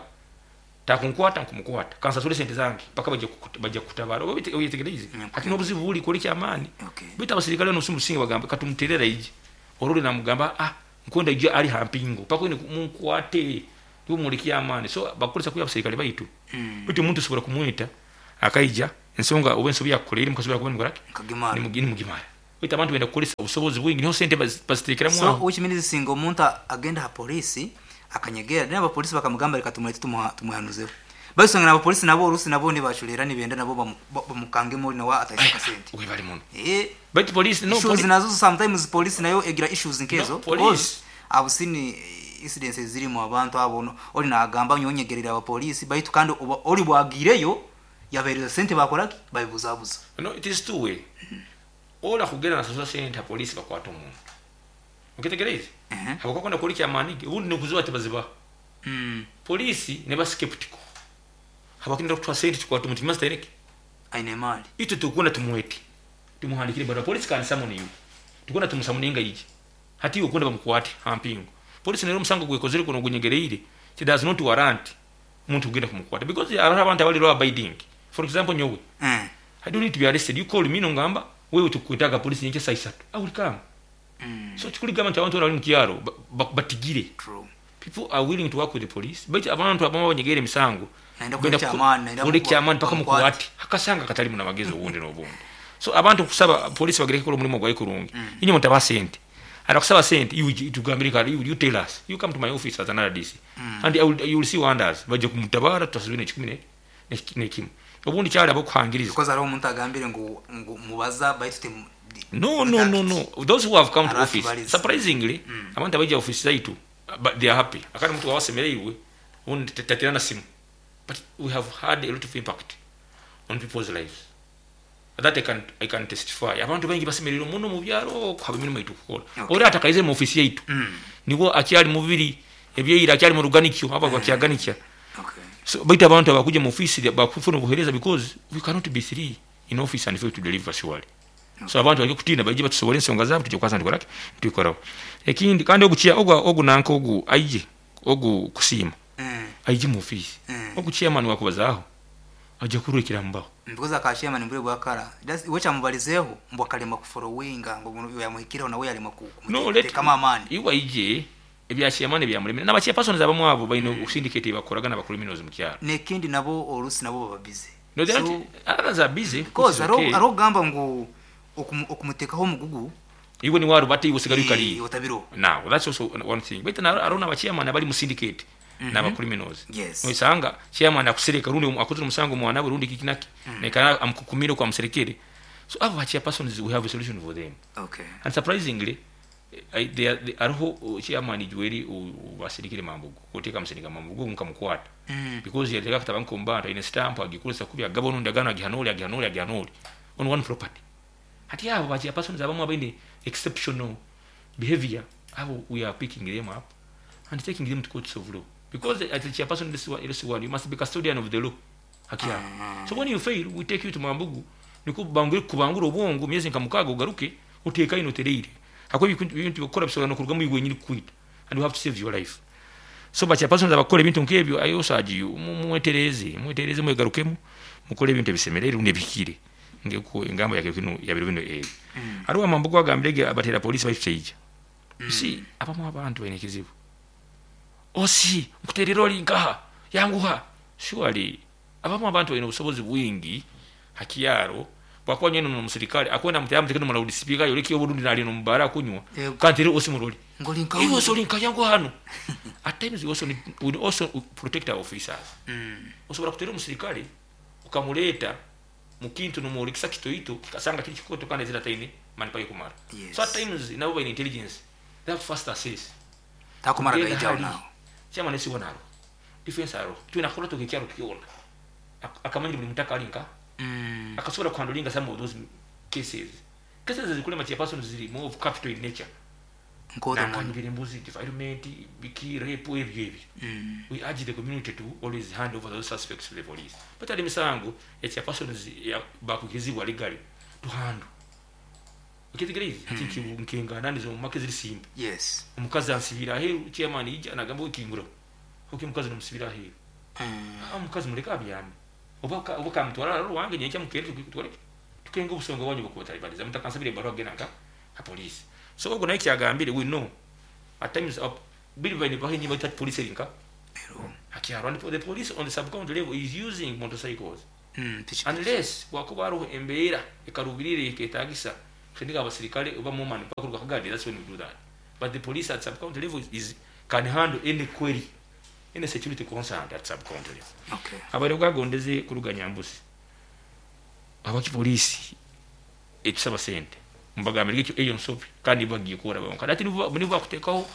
takunkwata nkumukwata, kansasure sente zange mpaka baija kukutabara. Oba oyetegereize? Hati n'obuzibu buri kwolekya amaani. Baitu abasirikale banu obusinge bagamba katumuterere aije. Orole namugamba ah nkwenda aije ari ha mpingo mpaka oine munkwate niwe mwolekye amaani. So bakukozesa kubi abasirikale baitu. Baitu omuntu osobora kumweta Akaija ensonga oba ensobi yakukoleire mukasobora kuba nimukoraki, Nkagimara. Nimugimara. Baitu abantu benda kukolesa obusobozi bwingi, niho sente baziteekeramu So aho. which means singa omuntu agenda ha polisi akanyegera, then abapolisi bakamugamba reka tumulete tumuhanuzeho, basanga n'abapolisi nabo olusi nabo nibachulera, nibenda nabo bamukangemo nawe ataise akasente. Webali muno. Eh. Baitu polisi no Issues nazo sometimes polisi nayo egira issues nkezo. No, police. Because I've seen incidences zirimu abantu abo oli nagamba nyonyegerera abapolisi, baitu kandi oli bwagireyo yabereza sente, bakoraki, babibuzabuza. No, it is two way. Ola kugenda nasasula sente polisi bakwata omuntu, okitegereize? Mhm. Habwakwenda kuli kyamanigi, ubundi nikuziba tibaziba. Polisi neba skeptical habwakwenda kutwa sente tukwata omuntu mastereke. Aine emali. Itwe tukunda tumwete, tumuhandikire barua, polisi kandi summon you, tukunda tumusamuninga ije hati ukunda bamukwate hampingo. Polisi nero omusango gwekozere kuno gunyegereire, it does not warrant omuntu kugenda kumukwata, because hariho abantu abali law abiding. For example, nyowe, I don't need to be arrested. You call me, nongamba wewe tukwetaga polisi nyenkya saa 3, I will come. So kikuligamba nti abantu bali mu kyaro batigire. True. People are willing to work with the police, but abantu abamu banyegere emisango Naenda benda kukora ekyamaani, naenda kukora ekyamaani paka bamukwate. mukwate akasanga katalimu namagezi obundi n'obundi. So abantu kusaba polisi bagereke kola omulimu gwayo kurungi. Inye mutaba sente, arakusaba sente, you tugambire kale, you tell us, you come to my office as an RDC, and you will see wonders. Bajja kumutabara, tutasubira ekikumi nekimu obundi kyali abokuhangiriza. Because hariho omuntu agambire ngu mubaza baitu No, those who have come to Aratu office, baliza. surprisingly, abantu abaija office zaitu, but they are happy. Akati muntu wawasemereirwe ubundi taterana simu, but we have had a lot of impact on people's lives that I can testify. Abantu baingi basemereirwe muno mu byaro kuhaba emirimu yaitu kukola. Okay. Ori atakaize mu office yaitu, niwo akyali mubiri ebyeira, akyali mu ruganikyo, aba bakyaganikya. Okay. So baitu abantu abakuja mu office bakufuna obuhereza, because we cannot be three in office and fail to deliver, surely. So abantu bajya kutinda, baije batusobole ensonga zaabo, tujja kukwasa ntukoraki, ntukoraho ekindi. Kandi ogu chia ogu nanka ogu aije ogu kusiima, aije mu office. Ogu chairman wakubazaaho ajja kurwekera mubaho. Because akashema ni mbure bwakara. We kyamubalizeho mbu akalema kufollowinga ngo bunu yamuhikireho nawe yalema No, let kumuteekamu amaani. Iwe aije ebya chairman byamulemera n'aba chairpersons abamu abo balina syndicate bakoragana ba criminals mu kyalo. Nekindi nabo olusi nabo baba busy. No, they're So, not, others are busy, which because is hariho okay. hariho okugamba ngu okumuteekaho omugugu. Iwe ni warubate, iwe usigale ukaliye. Otabiro. Now that's also one thing, but na arona aba chairman abali mu syndicate n'aba criminals. Oisanga chairman akusereka, rundi akozere omusango mwana we, rundi kikinaki, nekana amukukumire kwa muserekere. So abo ba chairpersons, we have a solution for them. And surprisingly, they are, ariho chairman juweri basirikire Mambugu, oteka musirika Mambugu nkamukwata, because yateka kataba nkombanta ine stamp agikozesa kubi, agaba onundi agana agihanoli agihanoli agihanoli on one property. Hati abo ba chairpersons abamu abaine exceptional behavior, abo we are picking them up and taking them to courts of law, because as a chairperson in this one, you must be custodian of the law haki yako. So when you fail, we take you to Mambugu, niko bangure kubangura obwongo myezi nka 6, ugaruke uteka ino tereire hako ibintu bikora bisobola no kurugamu iwe nyiri kwita, and you have to save your life. So ba chairpersons abakora ebintu nk'ebyo, ayo saji mwetereze, mwetereze, mwegarukemu, mukole ebintu ebisemerere rundi ebihikire ngeko engamba yake kino yabiro bino ebyo. Hariho Amambugu agambirege abatera polisi baitu. You see, abamu abantu balina ekizibu, osi nkuterera oli nkaha yanguha. Surely abamu abantu balina obusobozi bwingi hakiyaro, bwakuba nyene nomusirikale akwenda mutera mutekeno mu loudspeaker yoleki oburundi nali nomubara kunywa. Yego. Kandi rero osi muroli Ngoli nka iwe osoli nkayangu hano. At times we also protect our officers. Osobola kutera omusirikale ukamuleeta mukintu nomwolikisa kitoito, kikasanga kiri kikoto kandi ezira taine manpower kumara. So at times nabo balina intelligence, they have to first assess. Takumara Kugenda gaijao hali, nawo. Chairman esiwo nalo defense aro twina kola tokekyaro kyona. Akamanyira buli mutaka alinka, akasobola kuhandlinga some of those cases. Cases ezikulema chairpersons ziri more of capital in nature. Nkoto muno. Nakanyibira embuzi, defilement, biki, rape, ebyo ebyo. We urge the community to always hand over those suspects to the police, but ali misango ya chairpersons bakukizibwa legally to handle. Okitegereize? Ati nkengana nizo mumake ziri simple. Omukazi ansibira aheeru, chairman ija nagamba okingura oki omukazi nomusibira aheeru. Ah, omukazi muleke abyame, oba kamutwara alo wange nyenkya mukere tukoleke tukenga obusonga bwanyu bukubatalibaliza mutakansabira ebbaluwa kugenda nka ha police. So ogwo naye kyagambire, we know at times biri baine bahinyi baita police erinka Ero. hakyaro, and the police on the sub county level is using motorcycles. Piki. Unless wakuba hariho embeera ekarubirire eketagisa kusindika abasirikale oba more man kuruga Kagadi, that's when we do that. But the police at sub-county level is can handle any query, any security concern at sub-county level. Okay. Abaire bwagondeze kuruga Nyambusi, abaki polisi etusaba sente mbagambire ekyo eyo nsobi kandi bagiye kukora bonka ati nibo bakutekaho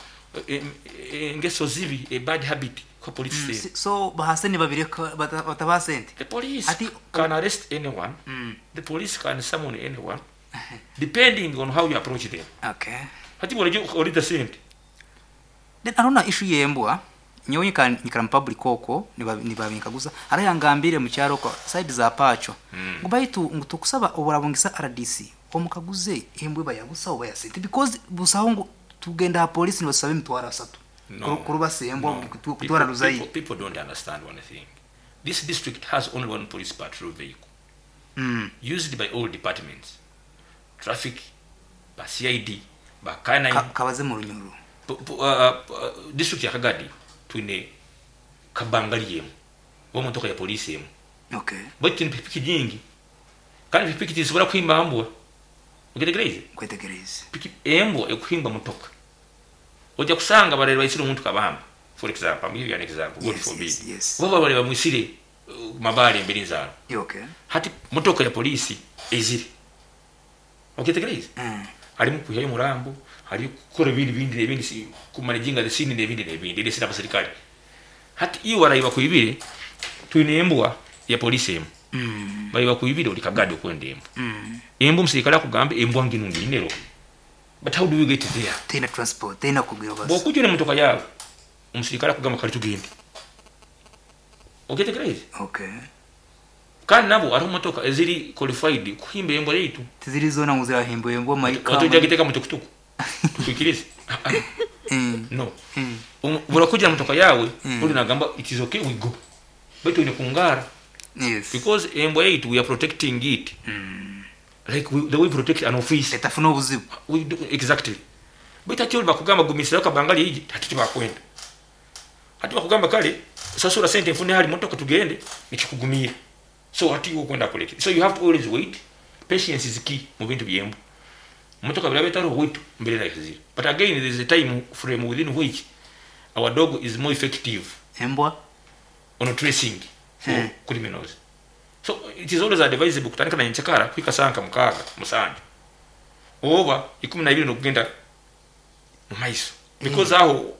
engeso zibi, a bad habit kwa police sente. So bahase nibabireka batabaha sente. The police Ati- can arrest anyone. The police can summon anyone depending on how you approach them. Okay. Hati bwolejja olida sente. Then arona issue yembwa nyowe nyikara mu public okwo nibabinkaguza ara yangambire mu kyaro kwa side za pacho ngo baitu ngo tukusaba oburabungisa RDC omukaguze embwe bayabusa oba yasente because busaho ngo tugenda ha police nibasaba emitwaro asatu. No. Kurubasa embwa No. kutwara ruzayi. People don't understand one thing. This district has only one police patrol vehicle used by all departments. Traffic, ba CID, ba K9. Kabaze mu Runyoro. District ya Kagadi twine kabangali yemu oba motoka ya polisi emu. Okay. Baitu twine pikipiki nyingi kandi pikipiki tizisobora kuhimba mbwa. Okitegereize? Kwetegereza. Piki embwa ekuhimba motoka ojja kusanga barere baisire omuntu kabamba, for example, I'm giving you an example, God forbid. Oba barere bamwisire mabale emberi nzaro. Okay. Hati motoka ya polisi ezire. Okitegereize? Harimu kuhyayo murambo, hari kukora ibindi bindi n'ebindi kumanaginga the scene n'ebindi n'ebindi ndetse n'abasirikale. Hati iyo barayiba kuibire twine embwa ya polisi emu. Barayiba kuibire uri Kagadi okwenda embwa. Embwa omusirikale akugambe embwa ngino nginero. But how do we get there? Tena transport, tena kugira basi. Bwokujja n'emotoka yawe omusirikale akugamba kale tugende. Okitegereize? Okay. Kandi nabo hariho motoka eziri qualified kuhimba embwa yaitu. Tiziri zona ngo zirahimba embwa mayika. Watujja giteka mu tukutuku. Tukwikirize. No. Burakugira motoka yawe uri nagamba it is okay we go. Baitu ine kungara. Yes. Because embwa yaitu we are protecting it. Like the way we protect an office. Etafuna obuzibu. We do, exactly. Baitu ati bakugamba gumisira kabangali iji ati tibakwenda. Ati bakugamba kale sasura sente mfune hali motoka tugende nikikugumira. So ati ukwenda kuleke. So you have to always wait. Patience is key mu bintu byembo. Motoka birabe taro wait mbere na kizira. But again there is a time frame within which our dog is more effective. Embwa on tracing for criminals. So it is always advisable kutandika na nchakara kwika sanka mukaga musanju. Oba 12 nokugenda mu maiso. Because aho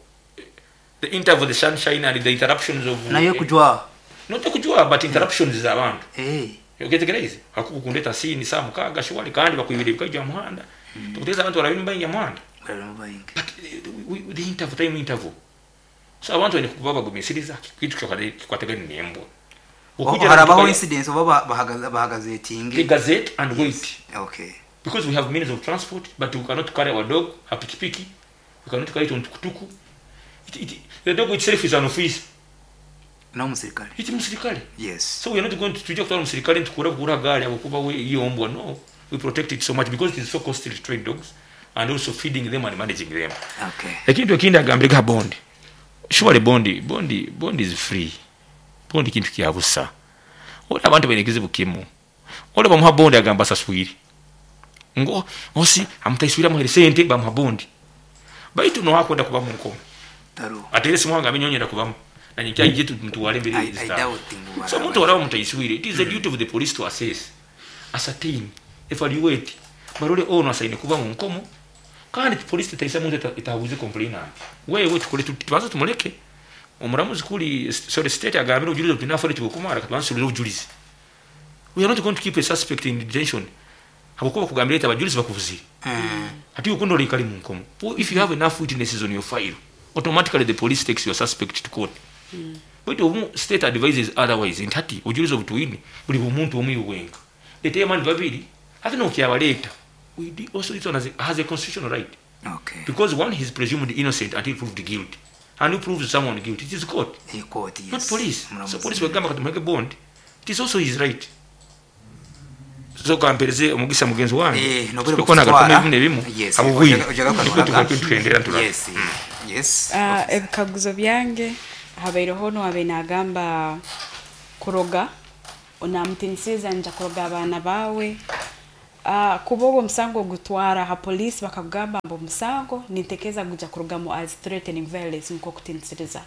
the interval, the sunshine and the interruptions of nayo kujwa. Not kujwa but interruptions za abantu. Oketegereze hakukundeta sini saa mukaga shwali kandi bakwibira bikajya muhanda. Tukuteza abantu barabimba ya muhanda. But the interval, time interval. So abantu bene kuba bagumisiriza kitu kikwategani nembwa. Harabaho incidents oba bahagazetingi. The gazette and wait. Okay. Because we have means of transport but we cannot carry our dog a pikipiki. We cannot carry it on tukutuku. The dog itself is an office. No musirikale. Iti musirikale. Yes. So we are not going to tujja kutwala musirikale ntukura kura gari abakuba we iyo mbwa. No. We protect it so much because it is so costly to train dogs and also feeding them and managing them. Okay. Ekintu ekindi agambire bond. Surely bond is free. Bond kintu kya busa. Ora abantu benekizibu kimu. Ora bamuha bond agamba saswiri. Ngo osi amutaiswira muhere sente bamuha bond. Baitu no hakwenda kuba mu nkomo. Atere simuhanga amenyonyera kubamu. Na nyinki aje mtuwale mbere I doubt ngu. So muntu waraba mutaiswire. It is the duty of the police to assess, ascertain, evaluate. Barole ono asaine kuba mu nkomo. Kandi police taisa muntu itabuze complainant. Wewe tukole tubanza tumuleke. Omuramuzi kuli sorry state agambira obujulizi obutunafa tubukumara katubanza obujulizi. We are not going to keep a suspect in detention. Habukuba kugambira ita abajulizi bakuvuzire. Ati ukundo likali mu nkomo. If you have enough witnesses on your file, automatically the police takes your suspect to court. But omu state advises otherwise ntati obujulizi obutuine buli omuntu omwe wenka. Leta amani babiri ate no kyabaleta. We also this one has a constitutional right. Okay. Because one is presumed innocent until proved guilty. And who proves someone guilty? It is court. The court, yes. Not police. So police wagamba katumweke bond. It is also his right. So kampereze omugisa mugenzi wange. Nobere kutwara. Yes. Yes. Yes. Ebikaguzo byange habaireho no abe nagamba kuroga. Onamutinisiza nja kuroga abaana bawe. Kuba ogwo omusango ogutwara ha police bakakugamba mbu omusango nintekereza guja kurugamu as threatening violence, nk'okutinisiriza.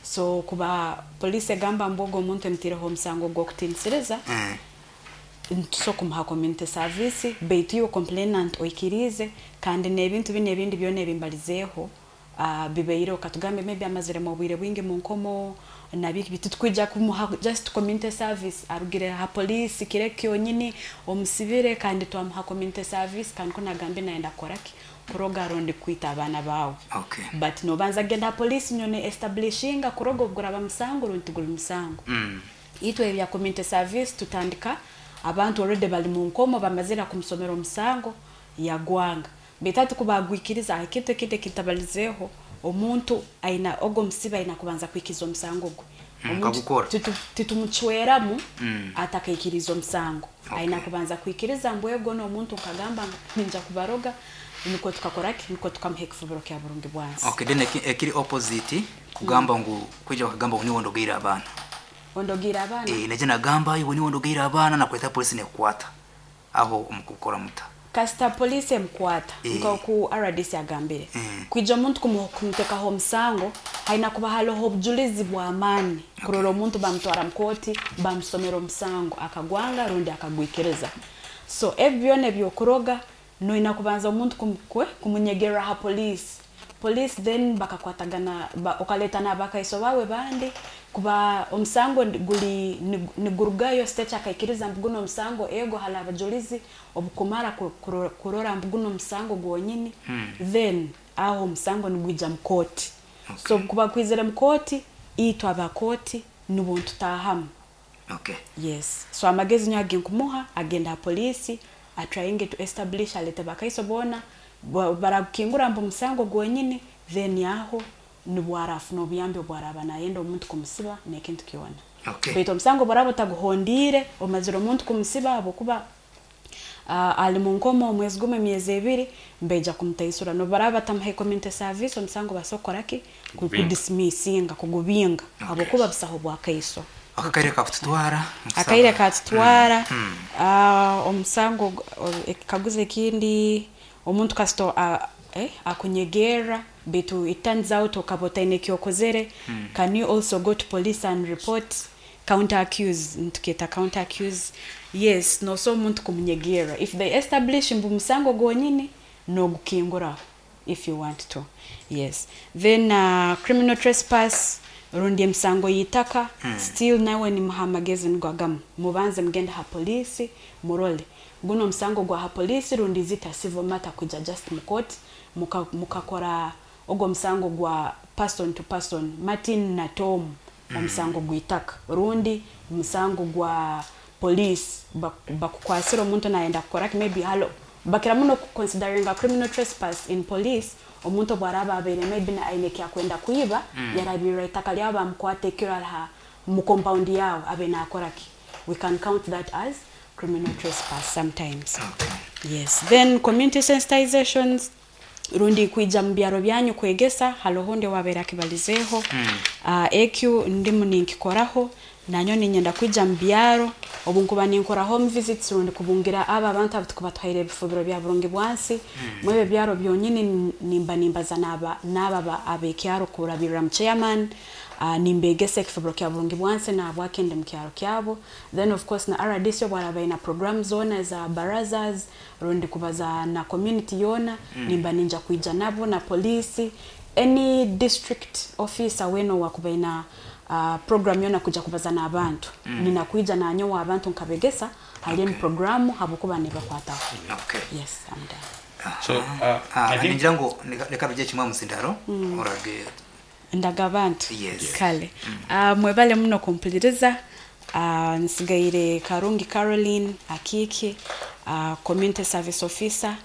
So kuba police egamba mbu ogwo omuntu emutireho omusango gw'okutinisiriza, nitusobola kumuha community service, baitu iwe complainant oikirize kandi n'ebintu binu ebindi byona ebimbalizeeho bibaireho. Katugambe maybe amaziremu obwire bwingi mu nkomo nabiki, titukwija kumuha just community service arugire ha police kiro kyonyini omusibire kandi twamuha community service, kandi ko nagambe nayenda kukoraki, kuroga rundi kwita abaana bawe. But nobanza kugenda ha police nyone establishinga kuroga obuguraba musango rundi tiguli musango. Itwe ebya community service tutandika abantu already bali mu nkomo, bamazire kumusomera omusango yagwanga, baitu hati kubagwikiriza. Ekintu ekindi ekintabalizeeho, omuntu aina ogwo omusibe aina kubanza kwikiriza omusango gwe. Omuntu Akagukora. Titumucweramu atakaikiriza omusango. Aina kubanza kwikiriza mbu ego n'omuntu nkagamba ninja kubaroga, nikwo tukakoraki, nikwo tukamuha ekifubiro kya burungi bwansi. Okay, then ekiri opposite, kugamba ngu kwija bakagamba ngu niwe ondogeire abaana. Ondogeire abaana. Eh, naje nagamba iwe niwe ondogeire abaana, nakweta polisi nekukwata, aho omukukora muta? Kasita poliisi emukwata, nk'oku RDC agambire, kwija omuntu kumutekaho omusango haina kuba hariho obujulizi bw'amaani kurora omuntu bamutwara mu kooti, bamusomera omusango akagwanga rundi akagwikiriza. So ebi byona ebyokuroga noina kubanza omuntu kumunyegerera ha poliisi. Police then bakakwatagana okaleta n'abakaiso bawe bandi kuba omusango guli nigurugayo state akaikiriza mbu guno omusango, ego hali abajulizi obukumara kurora mbu guno omusango gwonyini, then aho omusango nigwija mu kooti. So kuba kwizire mu kooti, itwe abakooti nibwo ntutahamu. Yes, so amagezi nyo agenkumuha, agenda ha poliisi, atryinge to establish, alete bakaiso boona, barakukingura mbu omusango gwonyini, then aho nibwo arafuna obuyambi obwaraba nayenda omuntu kumusiba n'ekintu kyona. Baitu omusango bwaraba otaguhondiire, omazire omuntu kumusiba habwokuba ali mu nkomo omwezi gumu, emyezi 2, mbaija kumutaisura nobaraba batamuha community service, omusango basobola kukoraki? Kubinga. Kudismissinga, kugubinga, habwokuba busaho bwakaiso. Akaire kakututwara. Akaire katutwara. Omusango ekikaguzo ekindi, omuntu kasito akunyegerra baitu it turns out okaba otaine ekyokozere, can you also go to police and report, counter accuse? Ntukyeta counter accuse. Yes, nosobola omuntu kumunyegerra, if they establish mbu musango gwonyini, nogukinguraho if you want to. Yes, then criminal trespass rundi emisango y'itaka, still nawe nimuha amagezi nigo agamu, mubanze mugende ha poliisi murole guno omusango gwa ha poliisi rundi zita civil matter kwija just mu court, mukakora ogwo omusango gwa person to person, Martin na Tom, omusango gw'itaka rundi omusango gwa police, bakukwasira omuntu nayenda kukoraki, maybe halo bakira muno kuconsideringa criminal trespass in police, omuntu obwaraba abaire maybe aine ekyakwenda kwiba, yarabirira itaka lyabo, bamukwata ekiro ari mu compound yawe abe nakoraki, we can count that as criminal trespass sometimes. Yes, then community sensitizations rundi kwija mu byaro byanyu kwegesa, haloho ndi wabeera akibalizeeho. Ekyo ndimu ninkikoraho, nanyo ninyenda kwija mu byaro obu nkuba ninkora home visits rundi kubungira aba abantu abo tukuba tuhaire ebifubiro bya burungi bwansi. Mwebyo byaro byonyini nimba nimbaza n'aba ab'ekyaro kurabirira mu chairman, nimbegesa ekifubiro kya burungi bwansi nahabwaki ndi mu kyaro kyabo. Then of course na RDC obwaraba aine program zoona za barazas rundi kubaza na community yoona, nimba ninja kwija nabo, na police, any district officer wena owakuba aina program yona kuja kubaza n'abantu, ninakwija nanyowe abantu nkabegesa hali eni programu habwokuba nibakwataho. Yes, I'm done. So I think Ningira ngu reka tujye kimwe musindaro orage. Ndaga abantu. Yes. Kale, mwebale muno kumpuliriza. Nsigaire Karungi Caroline Akiki, community service officer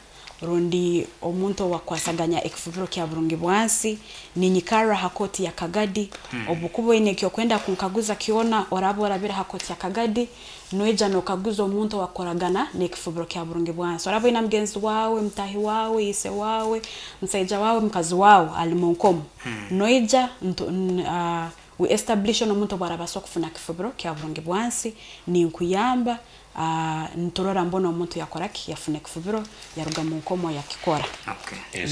rundi omuntu owakwasaganya ekifubiro kya burungi bwansi, ninyikarra ha kooti ya Kagadi. Obukuba oine ekyokwenda kunkaguza kyona, oraba orabira ha kooti ya Kagadi, noija nokaguza omuntu owakoragana n'ekifubiro kya burungi bwansi. Oraba oina mugenzi wawe, mutahi wawe, ise wawe, musaija wawe, mukazi wawe ali mu nkomo, noija We establish omuntu obwarabasa okufuna kifubiro kya burungi bwansi, ninkuyamba, niturora mbona omuntu yakoraki, yafuna ekifubiro, yaruga mu nkomo yakikora. Okay. Yes.